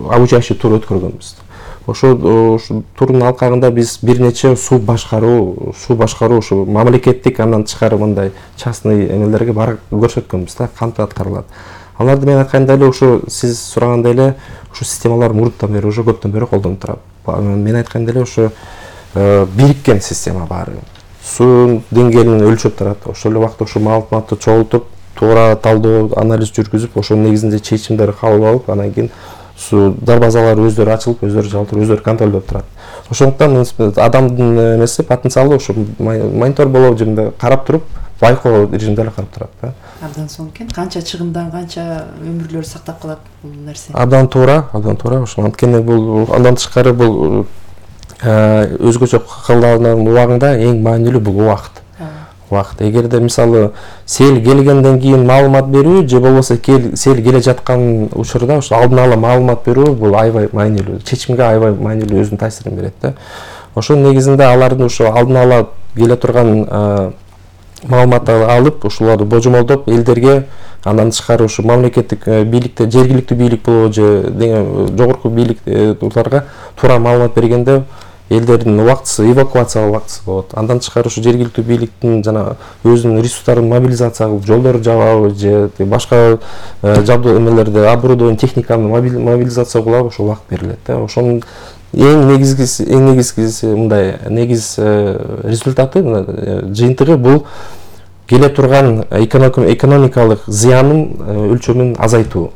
J: обучающий тур өткөргөнбүз. Ошол турдун алкагында биз бир нече суу башкаруу ушу мамлекеттик андан тышкары мындай частный эмелерге барып көрсөткөнбүз да, кантип аткарылат. Аларды мен айткандай эле ушу сиз сурагандай эле ушу системалар мурунтан бери уже көптөн бери колдонуп турат. Мен айткандай эле ушу бириккен система баары. Суунун деңгээлин өлчөп турат. Ошол эле убакта ушу маалыматты чогултуп, туура талдоо, анализ жүргүзүп, ошонун негизинде чечимдер кабыл алып, анан кийин суу дарбазалары өздөрү ачылып, өздөрү жабылып, өздөрү контролдоп турат. Ошондуктан адамдын эмеси потенциалы ушу монитор болуп же карап туруп, байкоо режимде эле карап турат да.
I: Абдан сонун экен. Канча чыгымдан канча өмүрлөр сактап калат бул нерсе?
J: Абдан туура. Ошо анткени бул андан тышкары бул өзгөчө кылдалган убагында эң маанилүү бул убакыт. Эгерде мисалы сел келгенден кийин маалымат берүү же болбосо сел келе жаткан учурда ошо алдын ала маалымат берүү бул аябай маанилүү. Чечимге аябай маанилүү өзүнүн таасирин берет да. Ошонун негизинде алардын ошо алдын ала келе турган маалыматты алып, ушуларды божомолдоп элдерге, андан тышкары ушу мамлекеттик бийликте, жергиликтүү бийлик болобу же жогорку бийликлерге туура маалымат бергенде элдердин убактысы, эвакуация убактысы болот. Андан тышкары ушу жергиликтүү бийликтин жана өзүнүн ресурстарын мобилизация кылып, жолдорду жабабы же башка жабдуу эмелерди, оборудование, техниканы мобилизация кылабы, ошол убакыт берилет да. Ошонун эң негизгиси мындай негиз результаты, жыйынтыгы бул келе турган экономикалык зыянын өлчөмүн азайтуу.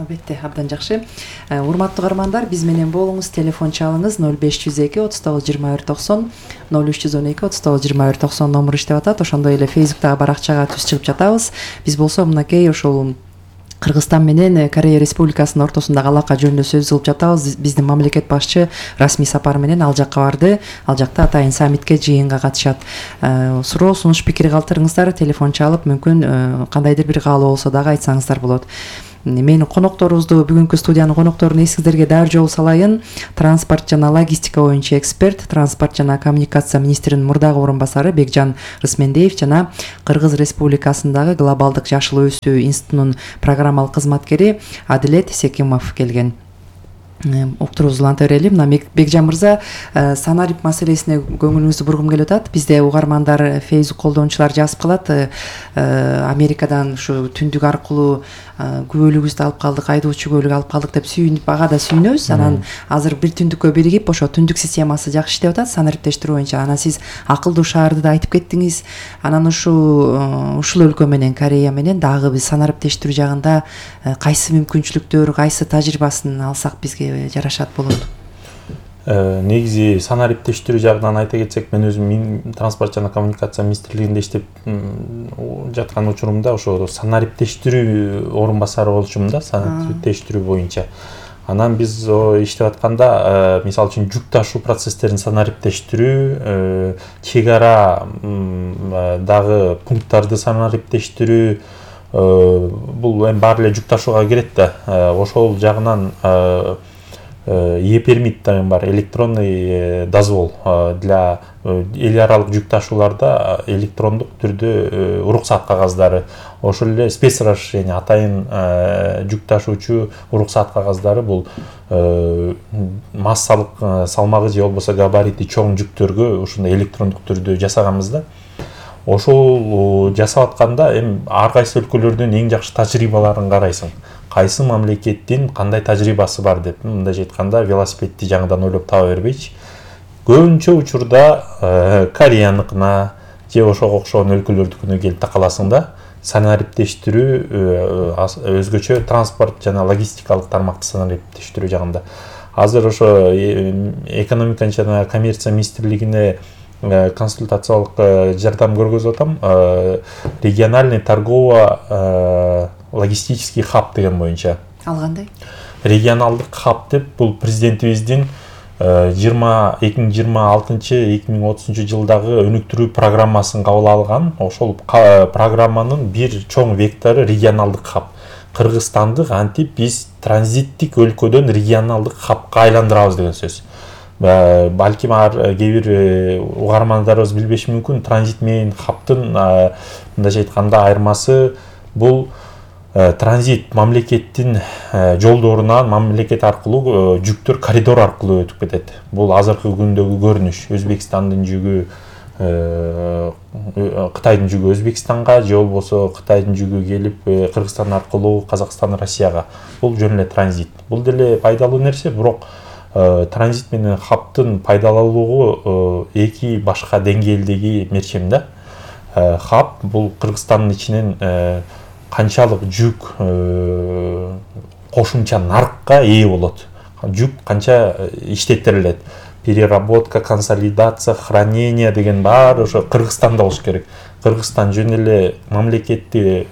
I: Албетте, абдан жакшы. Урматтуу угармандар, биз менен болуңуз, телефон чалыңыз 0502 39 21 90, 0312 39 21 90 номер иштеп атат. Ошондой эле Facebooктагы баракчага түз чыгып жатабыз. Биз болсо мынакей ошол Кыргызстан менен Корея Республикасынын ортосундагы алака жөнүндө сөз кылып жатабыз. Биздин мамлекет башчы расмий сапар менен ал жакка барды. Ал жакта атайын саммитке, жыйынга катышат. Суроо, сунуш, пикир калтырыңыздар, телефон чалып, мүмкүн кандайдыр бир каалоо болсо дагы айтсаңыздар болот. Менин конокторубузду, бүгүнкү студиянын конокторун эсиңиздерге дагы жол салайын. Транспорт жана логистика боюнча эксперт, транспорт жана коммуникация министринин мурдагы орун басары Бекжан Рысмендеев жана Кыргыз Республикасындагы глобалдык жашыл өсүү институтунун программалык кызматкери Адилет Секимов келген. Уктуруубузду уланта берели. Мына Бекжан мырза, санарип маселесине көңүлүңүздү бургум келип атат. Бизде угармандар, Facebook колдонуучулар жазып калат. Америкадан ушу түндүк аркылуу күбөлүгүбүздү алып калдык, айдоочу күбөлүк алып калдык деп сүйүнүп, ага да сүйүнөбүз. Анан азыр бир түндүккө биригип, ошо түндүк системасы жакшы иштеп атат санариптештирүү боюнча. Анан сиз акылдуу шаарды да айтып кеттиңиз. Анан ушул өлкө менен, Корея менен дагы биз санариптештирүү жагында кайсы мүмкүнчүлүктөр, кайсы тажрыйбасын алсак бизге жарашат болот?
H: Негизи санариптештирүү жагынан айта кетсек, мен өзүм транспорт жана коммуникация министрлигинде иштеп жаткан учурумда ошо санариптештирүү орун басары болчумун да, санариптештирүү боюнча. Анан биз иштеп атканда, мисалы үчүн жүк ташуу процесстерин санариптештирүү, чек ара дагы пункттарды санариптештирүү, бул эми баары эле жүк ташууга кирет да. Ошол жагынан E-пермит деген бар, электронный дозвол для эл аралык жүк ташууларда электрондук түрдө уруксат кагаздары, ошол эле спецразрешение, атайын жүк ташуучу уруксат кагаздары, бул массалык салмагы же болбосо габарити чоң жүктөргө ушундай электрондук түрдө жасаганбыз да. Ошол жасап атканда эми ар кайсы өлкөлөрдүн эң жакшы тажрыйбаларын карайсың. Кайсы мамлекеттин кандай тажрыйбасы бар деп, мындайча айтканда велосипедти жаңыдан ойлоп таба бербейчи. Көбүнчө учурда Кореяныкына же ошого окшогон өлкөлөрдүкүнө келип такаласың да. Санариптештирүү өзгөчө транспорт жана логистикалык тармакты санариптештирүү жагында. Азыр ошо экономика жана коммерция министрлигине консультациялык жардам көргөзүп атам. Региональный торгово логистический хаб деген боюнча.
I: Ал кандай?
H: Регионалдык хаб деп, бул президентибиздин 2026-2030 жылдагы өнүктүрүү программасын кабыл алган. Ошол программанын бир чоң вектору регионалдык хаб. Кыргызстанды антип биз транзиттик өлкөдөн регионалдык хабка айландырабыз деген сөз. Балким кээ бир угармандарыбыз билбеши мүмкүн, транзит менен хабтын мындайча айтканда айырмасы бул транзит мамлекеттин жолдорунан мамлекет аркылуу жүктөр коридор аркылуу өтүп кетет. Бул азыркы күндөгү көрүнүш. Өзбекстандын жүгү Кытайдын жүгү Өзбекстанга же болбосо Кытайдын жүгү келип Кыргызстан аркылуу Казакстан, Россияга. Бул жөн эле транзит. Бул деле пайдалуу нерсе, бирок транзит менен хабтын пайдалуулугу эки башка деңгээлдеги мерчем да. Хаб бул Кыргызстандын ичинен канчалык жүк кошумча нарыкка ээ болот. Жүк канча иштеттирилет. Переработка, консолидация, хранение деген баары ошо Кыргызстанда болуш керек. Кыргызстан жөн эле мамлекетти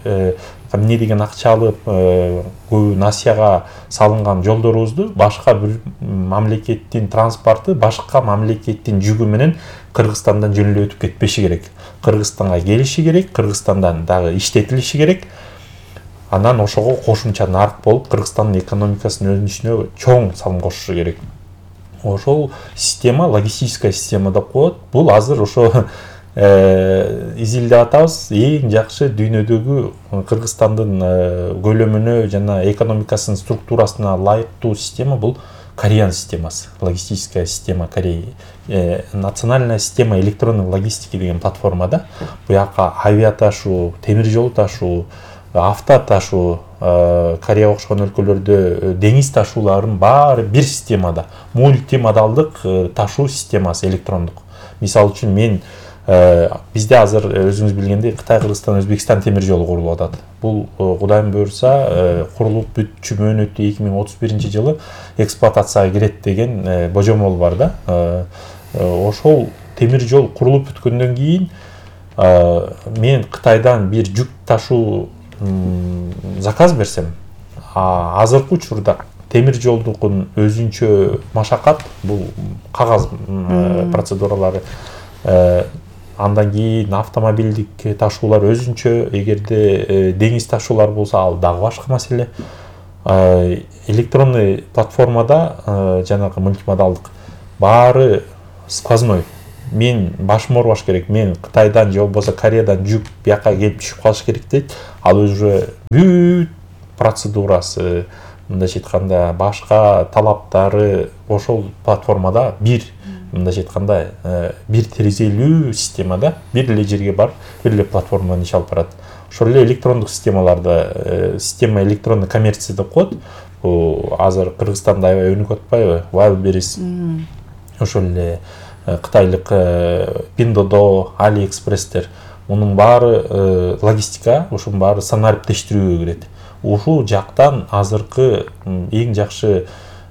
H: эмне деген акча алып, көбү насияга салынган жолдорубузду башка бир мамлекеттин транспорту башка мамлекеттин жүгү менен Кыргызстандан жөн эле өтүп кетпеши керек. Кыргызстанга келиши керек, Кыргызстандан дагы иштетилиши керек. Анан ошого кошумча нарык болуп, Кыргызстандын экономикасынын өнүшүнө чоң салым кошушу керек. Ошол система, логистическая система деп коет. Бул азыр ошо изилдеп атабыз. Эң жакшы дүйнөдөгү Кыргызстандын көлөмүнө жана экономикасынын структурасына ылайыктуу система бул Кореян системасы. Логистическая система Кореи. Национальная система электронной логистики деген платформада буяка авиа ташуу, темир жол ташуу, авто ташуу, Корея окшогон өлкөлөрдө деңиз ташууларын баары бир системада, мультимодалдык ташуу системасы электрондук. Мисалы үчүн мен Бизде азыр өзүңүз билгендей Кытай, Кыргызстан, Өзбекстан темир жолу курулуп атат. Бул Кудайым буйрса курулуп бүтчү мөөнөтү 2031 жылы эксплуатацияга кирет деген божомол бар да. Ошол темир жол курулуп бүткөндөн кийин мен Кытайдан бир жүк ташуу заказ берсем, азыркы учурда темир жолдукун өзүнчө машакат, бул кагаз процедуралары, андан кийин автомобилдик ташуулар өзүнчө, эгерде деңиз ташуулар болсо ал дагы башка маселе. Электронный платформада жанагы мультимодалдык баары сквозной. Мен башым оорубаш керек, мен Кытайдан же болбосо Кореядан жүк бияка келип түшүп калыш керек дейт. Ал уже бүт процедурасы, мындайча айтканда башка талаптары ошол платформада бир, мындайча айтканда бир терезелүү системада бир эле жерге барып, бир эле платформадан иш алып барат. Ошол эле электрондук системаларда, система электронный коммерция деп коет. Азыр Кыргызстанда аябай өнүгүп атпайбы? Wildberries, ошол эле кытайлык Pinduoduo, AliExpress'тер, мунун баары логистика, ушунун баары санариптештирүүгө кирет. Ушул жактан азыркы эң жакшы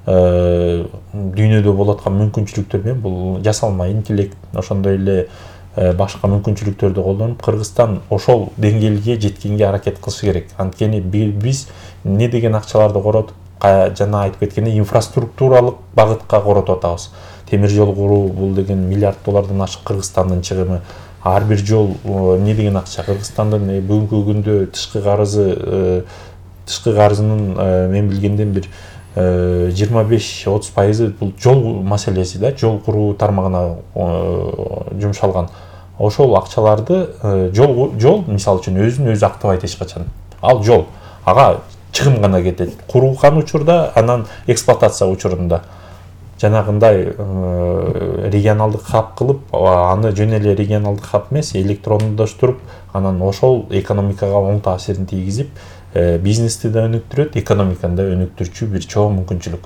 H: дүйнөдө болуп аткан мүмкүнчүлүктөр менен бул жасалма интеллект, ошондой эле башка мүмкүнчүлүктөрдү колдонуп Кыргызстан ошол деңгээлге жеткенге аракет кылышы керек. Анткени биз эмне деген акчаларды коротуп, жана айтып кеткендей инфраструктуралык багытка коротуп атабыз. Темир жол куруу бул деген миллиард доллардан ашык Кыргызстандын чыгымы. Ар бир жол эмне деген акча. Кыргызстандын бүгүнкү күндө тышкы карызынын мен билгенден бир 25-30% бул жол маселеси да, жол куруу тармагына жумшалган. Ошол акчаларды жол мисалы үчүн өзүн өзү актабайт эч качан. Ал жол ага чыгым гана кетет. Курулган учурда, анан эксплуатация учурунда жанагындай регионалдык хаб кылып, аны жөн эле регионалдык хаб эмес, электрондоштуруп, анан ошол экономикага оң таасирин тийгизип, бизнести да өнүктүрөт, экономиканы да өнүктүрчү бир чоң мүмкүнчүлүк.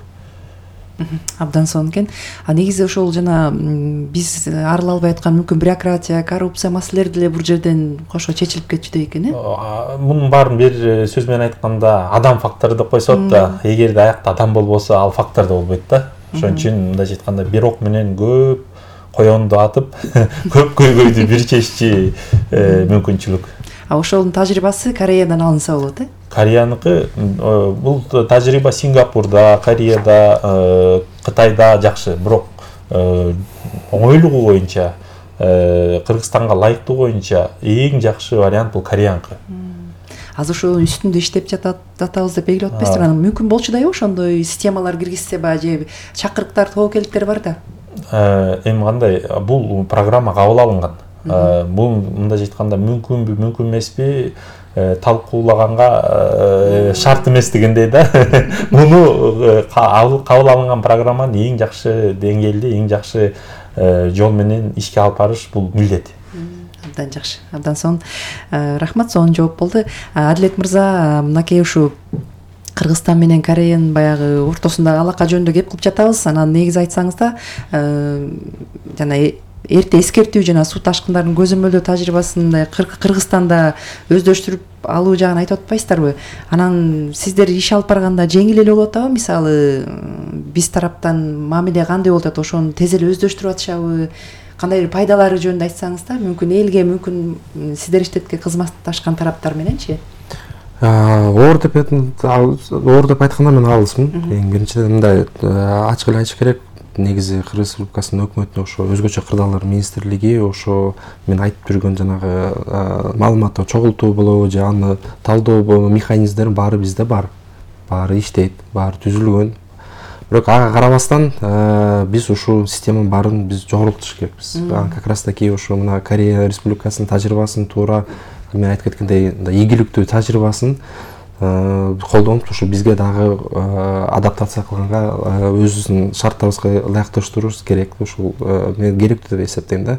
I: Абдан сонун экен. Негизи ошол жана биз арыла албай аткан мүмкүн бюрократия, коррупция маселелери деле бул жерден кошо чечилип кетчүдөй экен,
H: Мунун баарын бир сөз менен айтканда адам фактору деп койсот да, эгерде аякта адам болбосо, ал фактор да болбойт да. Ошон үчүн мындайча айтканда бир ок менен көп коёнду атып, көп көйгөйдү бир чеччи мүмкүнчүлүк.
I: Ошонун тажрыйбасы Кореядан алынса болот,
H: Кореяныкы бул тажрыйба Сингапурда, Кореяда, Кытайда жакшы, бирок оңойлугу боюнча, Кыргызстанга ылайыктуу боюнча эң жакшы вариант бул кореянкы.
I: Азыр ошо үстүндө иштеп жатабыз деп белгилеп атпайсызбы? Анан мүмкүн болчудай ошондой системалар киргизсе же чакырыктар, тобокелдиктер бар да.
H: Эми кандай, бул программа кабыл алынган. Бул мындайча айтканда мүмкүнбү, мүмкүн эмеспи, талкуулаганга шарт эмес дегендей да. Муну кабыл алынган программаны эң жакшы деңгээлде, эң жакшы жол менен ишке алып барыш бул милдет.
I: Абдан жакшы, абдан сонун. Рахмат, сонун жооп болду. Адилет мырза, мынакей ушу Кыргызстан менен Кореянын баягы ортосундагы алака жөнүндө кеп кылып жатабыз. Анан негизи айтсаңыз да, жана эрте эскертүү жана суу ташкындарынын көзөмөлдөө тажрыйбасын Кыргызстанда өздөштүрүп алуу жагын айтып атпайсыздарбы? Анан сиздер иш алып барганда жеңил эле болуп атабы? Мисалы, биз тараптан мамиле кандай болуп атат? Ошону тез эле өздөштүрүп атышабы? Кандай пайдалары жөнүндө айтсаңыз да, мүмкүн элге, мүмкүн сиздер иштетке кызматташкан тараптар мененчи?
J: Оор деп айтканда мен алысмын. Эң биринчиден мындай ачык эле айтыш керек. Негизи Кыргыз Республикасынын өкмөтүнүн ошо өзгөчө кырдаалар министрлиги ошо мен айтып жүргөн жанагы маалыматты чогултуу болобу же аны талдоо механизмдери баары бизде бар. Баары иштейт, баары түзүлгөн. Бирок ага карабастан биз ушул системанын баарын биз жогорултуш керекпиз. Как раз таки ошо мына Корея Республикасынын тажрыйбасын туура мен айтып кеткендей ийгиликтүү тажрыйбасын колдонуп ушу бизге дагы адаптация кылганга өзүбүздүн шарттарыбызга ылайыкташтырууубуз керек. Ушул мен керектүү деп эсептейм да.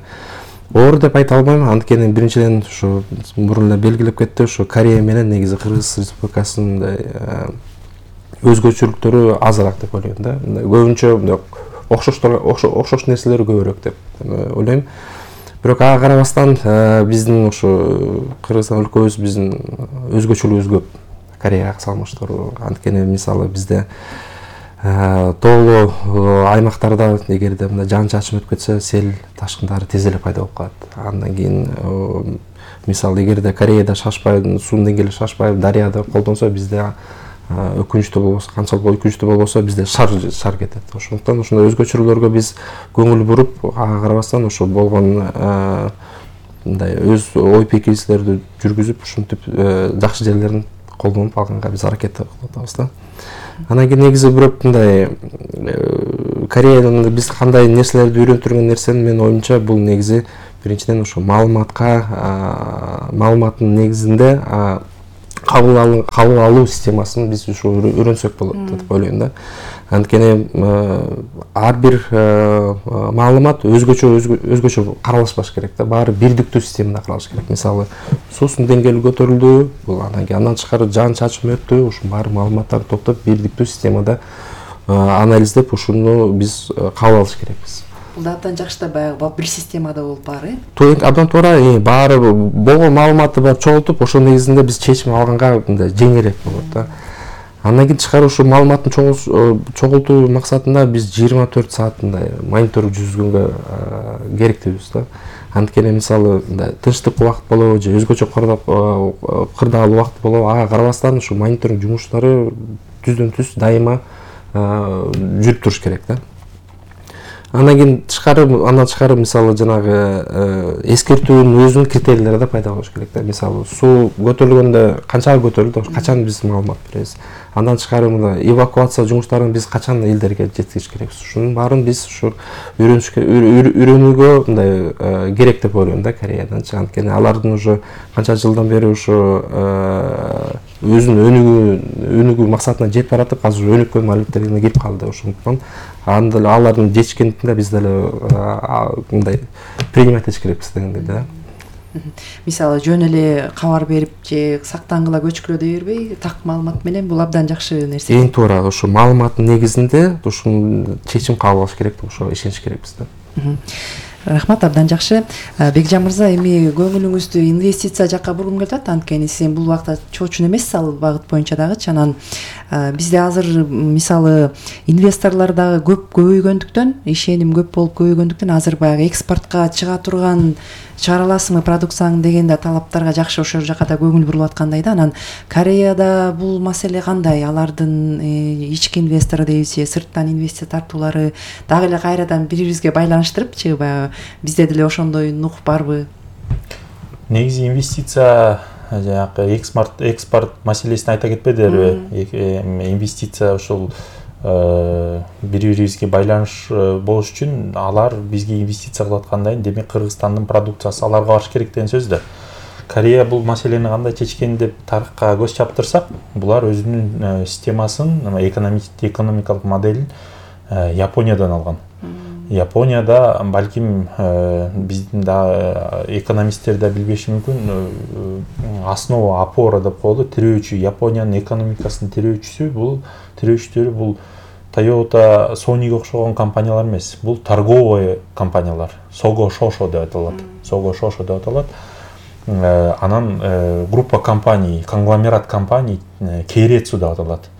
J: Оор деп айта албайм, анткени биринчиден ушу мурун эле белгилеп кетти, ушу Корея менен негизи Кыргыз Республикасынын өзгөчөлүктөрү азыраак деп ойлойм да. Көбүнчө окшош нерселери көбүрөөк деп ойлойм. Бирок ага карабастан биздин ушу Кыргызстан өлкөбүз биздин өзгөчөлүгүбүз көп Кореяга салыштыруу. Анткени мисалы бизде тоолуу аймактарда эгерде мындай жаан чачым өтүп кетсе, сел ташкындары тез эле пайда болуп калат. Андан кийин мисалы эгерде Кореяда шашпай, суунун деңгээли шашпай, дарыяда колдонсо, бизде өкүнүчтүү болбосо, канчалык өкүнүчтүү болбосо, бизде шар кетет. Ошондуктан ушундай өзгөчөлүктөргө биз көңүл буруп, ага карабастан ошо болгон мындай өз ой пикирлерди жүргүзүп, ушинтип жакшы жерлерин колдонуп алганга биз аракет кылып атабыз да. Анан кийин негизи бирок мындай Кореядан биз кандай нерселерди үйрөнтүргөн нерсени менин оюмча бул негизи биринчиден ошо маалыматтын негизинде кабыл алуу системасын биз ушу үйрөнсөк болот деп ойлойм да. Анткени ар бир маалымат өзгөчө каралышпаш керек да. Баары бирдиктүү системада каралыш керек. Мисалы, суусунун деңгээли көтөрүлдү, бул андан кийин андан тышкары жаан чачым өттү, ушул баары маалыматтарды топтоп бирдиктүү системада анализдеп, ушуну биз кабыл алыш керекпиз.
I: Бул да абдан жакшы да, баягы бир системада болуп баары.
J: Абдан туура, баары болгон маалыматты барып чогултуп, ошол негизинде биз чечим алганга мындай жеңилирээк болот да. Андан кийин тышкары ушу маалыматтын чогултуу максатында биз 24 саат мындай монитор жүргүзгөнгө керектибиз да. Анткени мисалы мындай тынчтык убакыт болобу же өзгөчө кырдаалуу убакыт болобу, ага карабастан ушу мониторинг жумуштары түздөн түз дайыма жүрүп туруш керек да. Андан тышкары мисалы жанагы эскертүүнүн өзүнүн критерийлери да пайда болуш керек да. Мисалы суу көтөрүлгөндө канчага көтөрүлдү, качан биз маалымат беребиз. Андан тышкары мына эвакуация жумуштарын биз качан элдерге жеткизиш керекпиз. Ушунун баарын биз ушу үйрөнүүгө мындай керек деп ойлойм да Кореяданчы. Анткени алардын уже канча жылдан бери ушу өзүнүн өнүгүү максатына жетип баратып, азыр өнүккөн маалыматтерге кирип калды. Ошондуктан алардын жетишкендигинде биз деле мындай принимать этиш керекпиз дегендей да.
I: Мисалы жөн эле кабар берип же сактангыла көчкүлө дей бербей, так маалымат менен бул абдан жакшы нерсе.
J: Эң туура ушу маалыматтын негизинде ушун чечим кабыл алыш керек, ошо ишениш керекпиз да.
I: Рахмат, абдан жакшы. Бекжан мырза, эми көңүлүңүздү инвестиция жакка бургум келип атат, анткени сиз бул убакта чоочун эмессиз ал багыт боюнча дагычы. Анан бизде азыр мисалы инвесторлор дагы көп көбөйгөндүктөн, ишеним көп болуп көбөйгөндүктөн азыр баягы экспортко чыга турган чыгара аласыңбы продукцияң деген да талаптарга жакшы ошол жака да көңүл бурулуп аткандай да. Анан Кореяда бул маселе кандай? Алардын ички инвестор дейбизби, сырттан инвестиция тартуулары дагы эле кайрадан бири-бирибизге байланыштырыпчы, баягы бизде деле ошондой нух барбы?
H: Негизи инвестиция жанагы экспорт маселесин айта кетпедилерби? Инвестиция ушул бири-бирибизге байланыш болуш үчүн алар бизге инвестиция кылып аткандан демек Кыргызстандын продукциясы аларга барыш керек деген сөз да. Корея бул маселени кандай чечкен деп тарыхка көз чаптырсак, булар өзүнүн системасын, экономикалык моделин Япониядан алган. Японияда балким биздин да экономисттер да билбеши мүмкүн, основа опора деп коелу, тирөөчү, Япониянын экономикасынын тирөөчүлөрү бул Toyota, Sony'ге окшогон компаниялар эмес. Бул торговый компаниялар. Sogo Shosho деп аталат. Анан группа компаний, конгломерат компаний Keiretsu деп аталат.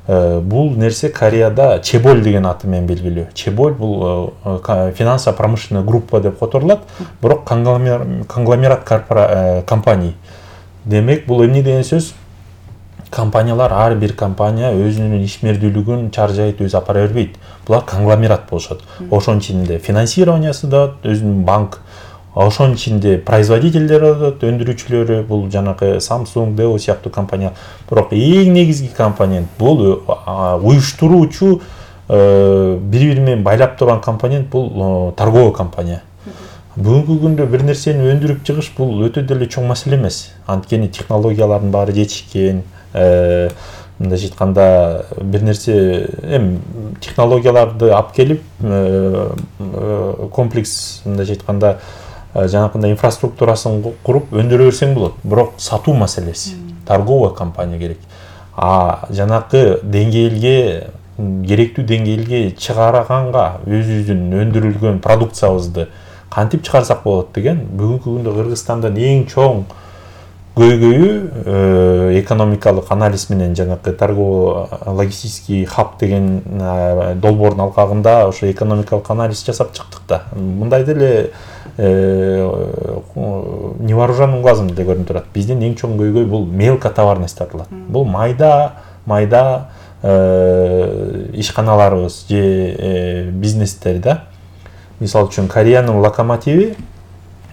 H: Бул нерсе Кореяда Чеболь деген аты менен белгилүү. Чеболь бул финансово-промышленный группа деп которулат, бирок конгломерат компаний. Демек бул эмне деген сөз? Компаниялар, ар бир компания өзүнүн ишмердүүлүгүн чаржайт, өзү апара бербейт. Булар конгломерат болушат. Ошонун ичинде финансированиясы да өзүнүн банк, ошонун ичинде производителдери да, өндүрүүчүлөрү, бул жанагы Samsung, Dell сыяктуу компания. Бирок эң негизги компонент бул уюштуруучу, бири-бири менен байлап турган компонент бул торговый компания. Бүгүнкү күндө бир нерсени өндүрүп чыгыш бул өтө деле чоң маселе эмес. Анткени технологиялардын баары жетишкен, мындай айтканда бир нерсе технологияларды алып келип комплекс мындай айтканда жанакындай инфраструктурасын куруп өндүрө берсең болот. Бирок сатуу маселеси, торговый компания керек. Жанакы деңгээлге, керектүү деңгээлге чыгарганга өзүбүздүн өндүрүлгөн продукциябызды кантип чыгарсак болот деген. Бүгүнкү күндө Кыргызстандын эң чоң көйгөйү экономикалык анализ менен жанагы торгово логистический хаб деген долбоордун алкагында ошо экономикалык анализ жасап чыктык да. Мындай деле невооруженным глазом деле көрүнүп турат. Биздин эң чоң көйгөй бул мелкотоварность аталат. Бул майда ишканаларыбыз же бизнестер да. Мисалы үчүн Кореянын локомотиви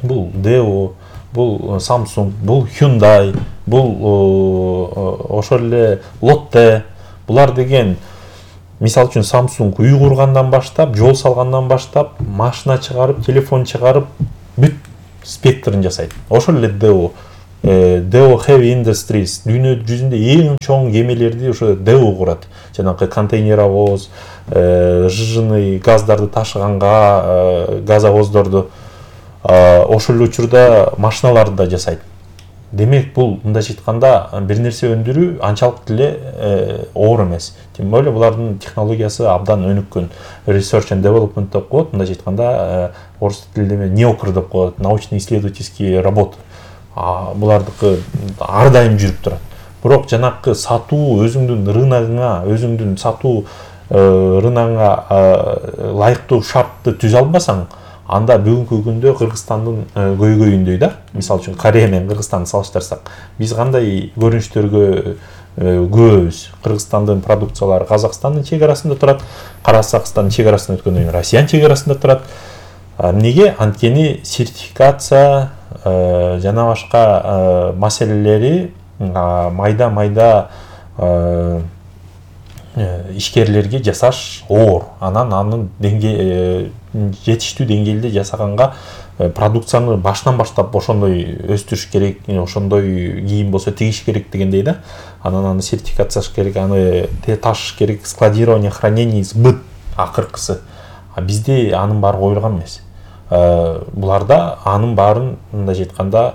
H: бул Daewoo, бул Samsung, бул Hyundai, бул ошол эле Lotte. Булар деген мисалы үчүн Samsung үй кургандан баштап, жол салгандан баштап, машина чыгарып, телефон чыгарып, бүт спектрин жасайт. Ошол эле Daewoo Heavy Industries дүйнө жүзүндө эң чоң кемелерди ошо Daewoo курат. Жанагы контейнеровоз, жыжыны газдарды ташыганга газовоздорду ошол эле учурда машиналарды да жасайт. Демек бул мындайча айтканда бир нерсе өндүрүү анчалык деле оор эмес. Тем более булардын технологиясы абдан өнүккөн. Research and Development деп коет, мындайча айтканда орус тилинде неокр деп коет, научно-исследовательские работы. Булардыкы ар дайым жүрүп турат. Бирок жанакы сатуу өзүңдүн рыногуңа, өзүңдүн сатуу рыногуңа ылайыктуу шартты түзө албасаң, анда бүгүнкү күндө Кыргызстандын көйгөйүндөй да. Мисалы үчүн Корея менен Кыргызстанды салыштырсак, биз кандай көрүнүштөргө көбүз. Кыргызстандын продукциялары Казакстандын чек арасында турат, Каракастандын чек арасында өткөндөн кийин Россиянын чек арасында турат. Эмнеге? Анткени сертификация жана башка маселелери майда ишкерлерге жасаш оор. Анын жетиштүү деңгээлде жасаганга продукцияны башынан баштап ошондой өстүрүш керек, ошондой кийим болсо тигиш керек дегендей да. Аны сертификацияш керек, аны ташыш керек, складирование, хранение, сбыт акыркысы. Бизде анын баары коюлган эмес. Буларда анын баарын мындайча айтканда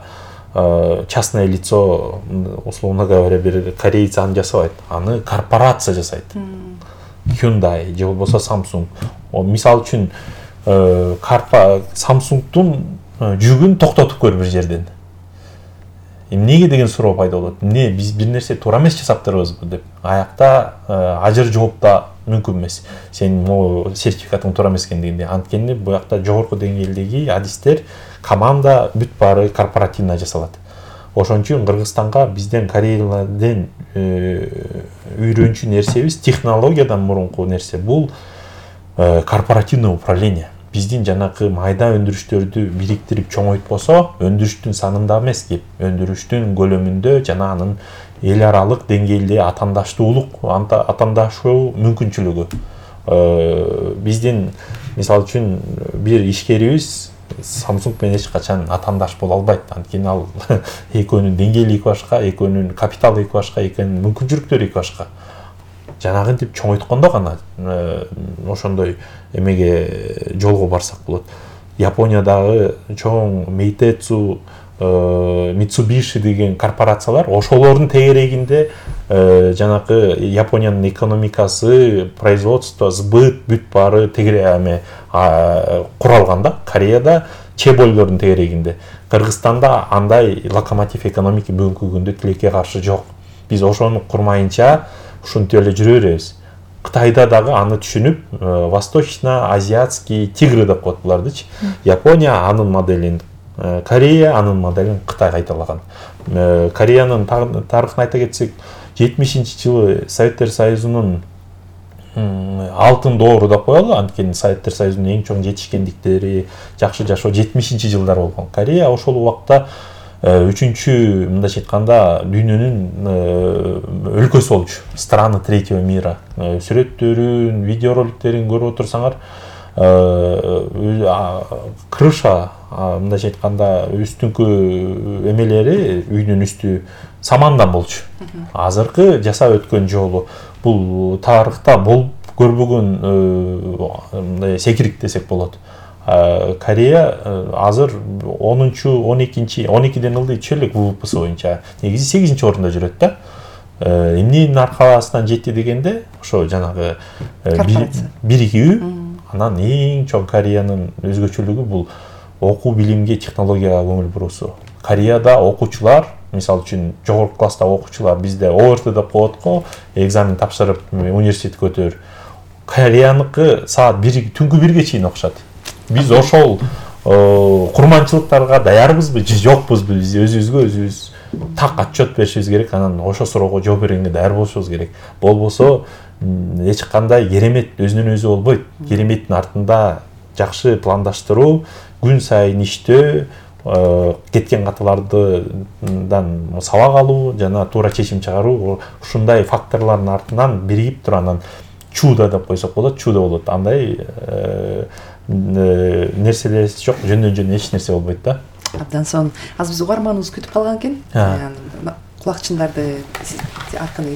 H: частное лицо, условно говоря, бир корейец аны жасабайт, аны корпорация жасайт. Hyundai же болбосо Samsung. Мисалы үчүн Samsungдун жүгүн токтотуп көр бир жерден. Эмнеге деген суроо пайда болот. Эмне биз бир нерсе туура эмес жасаптырбызбы деп. Аякта ажыр жооп да мүмкүн эмес. Сен могу сертификатың туура эмес экендигинде. Анткени буякта жогорку деңгээлдеги адистер, команда бүт баары корпоративно жасалат. Ошон үчүн Кыргызстанга бизден Кореядан үйрөнчү нерсебиз технологиядан мурунку нерсе бул корпоративное управление. Биздин жанакы майда өндүрүштөрдү бириктирип чоңойтпосо, өндүрүштүн санында эмес, өндүрүштүн көлөмүндө жана анын эл аралык деңгээлде атаандашуу мүмкүнчүлүгү. Биздин мисалы үчүн бир ишкерибиз Samsung менен эч качан атаандаш боло албайт. Анткени ал экөөнүн деңгээли эки башка, экөөнүн капиталы эки башка, экөөнүн мүмкүнчүлүктөрү эки башка. Жанагынтип чоңойткондо гана ошондой эмеге жолго барсак болот. Япониядагы чоң Meitetsu, Mitsubishi деген корпорациялар ошолордун тегерегинде жанакы Япониянын экономикасы, производство, сбыт бүт баары тегереме куралган да. Кореяда чеболдордун тегерегинде. Кыргызстанда андай локомотив экономика бүгүнкү күндө тилекке каршы жок. Биз ошону курмайынча ушинтип эле жүрө беребиз. Кытайда дагы аны түшүнүп, восточно-азиатский тигры деп коет булардычы. Япония анын моделин, Корея анын моделин Кытай кайталаган. Кореянын тарыхын айта кетсек, 70-жылы Советтер Союзунун алтын доору деп коелу, анткени Советтер Союзунун эң чоң жетишкендиктери, жакшы жашоо 70-жылдар болгон. Корея ошол убакта үчүнчү мындайча айтканда дүйнөнүн өлкөсү болчу. Страны третьего мира. Сүрөттөрүн, видеороликтерин көрүп отурсаңар, крыша мындайча айтканда үстүңкү эмелери, үйдүн үстү самандан болчу. Азыркы жасап өткөн жолу бул тарыхта болуп көрбөгөн секирик десек болот. Корея азыр 12-ден ылдый чөйлүк ВВПсы боюнча негизи 8-орунда жүрөт да. Эмненин аркасынан жетти дегенде, ошо жанагы биригүү, анан эң чоң Кореянын өзгөчөлүгү бул окуу билимге, технологияга көңүл буруусу. Кореяда окуучулар, мисалы үчүн жогорку класстагы окуучулар, бизде ОРТ деп коет го, экзамен тапшырып университетке өтөр. Кореяныкы саат 1 түнкү 1ге чейин окушат. Биз ошол курманчылыктарга даярбызбы же жокпузбу? Биз өзүбүзгө так отчет беришибиз керек, анан ошол суроого жооп бергенге даяр болушубуз керек. Болбосо эч кандай керемет өзүнөн өзү болбойт. Кереметтин артында жакшы пландаштыруу, күн сайын иштөө, кеткен каталардан сабак алуу жана туура чечим чыгаруу, ушундай факторлордун артынан биригип туруп анан чудо деп койсок болот, чудо болот. Андай нерселер жок, жөндөн эч нерсе болбойт да.
I: Абдан сонун. Азыр биз угарманыбыз күтүп калган экен. Кулакчындарды аркылуу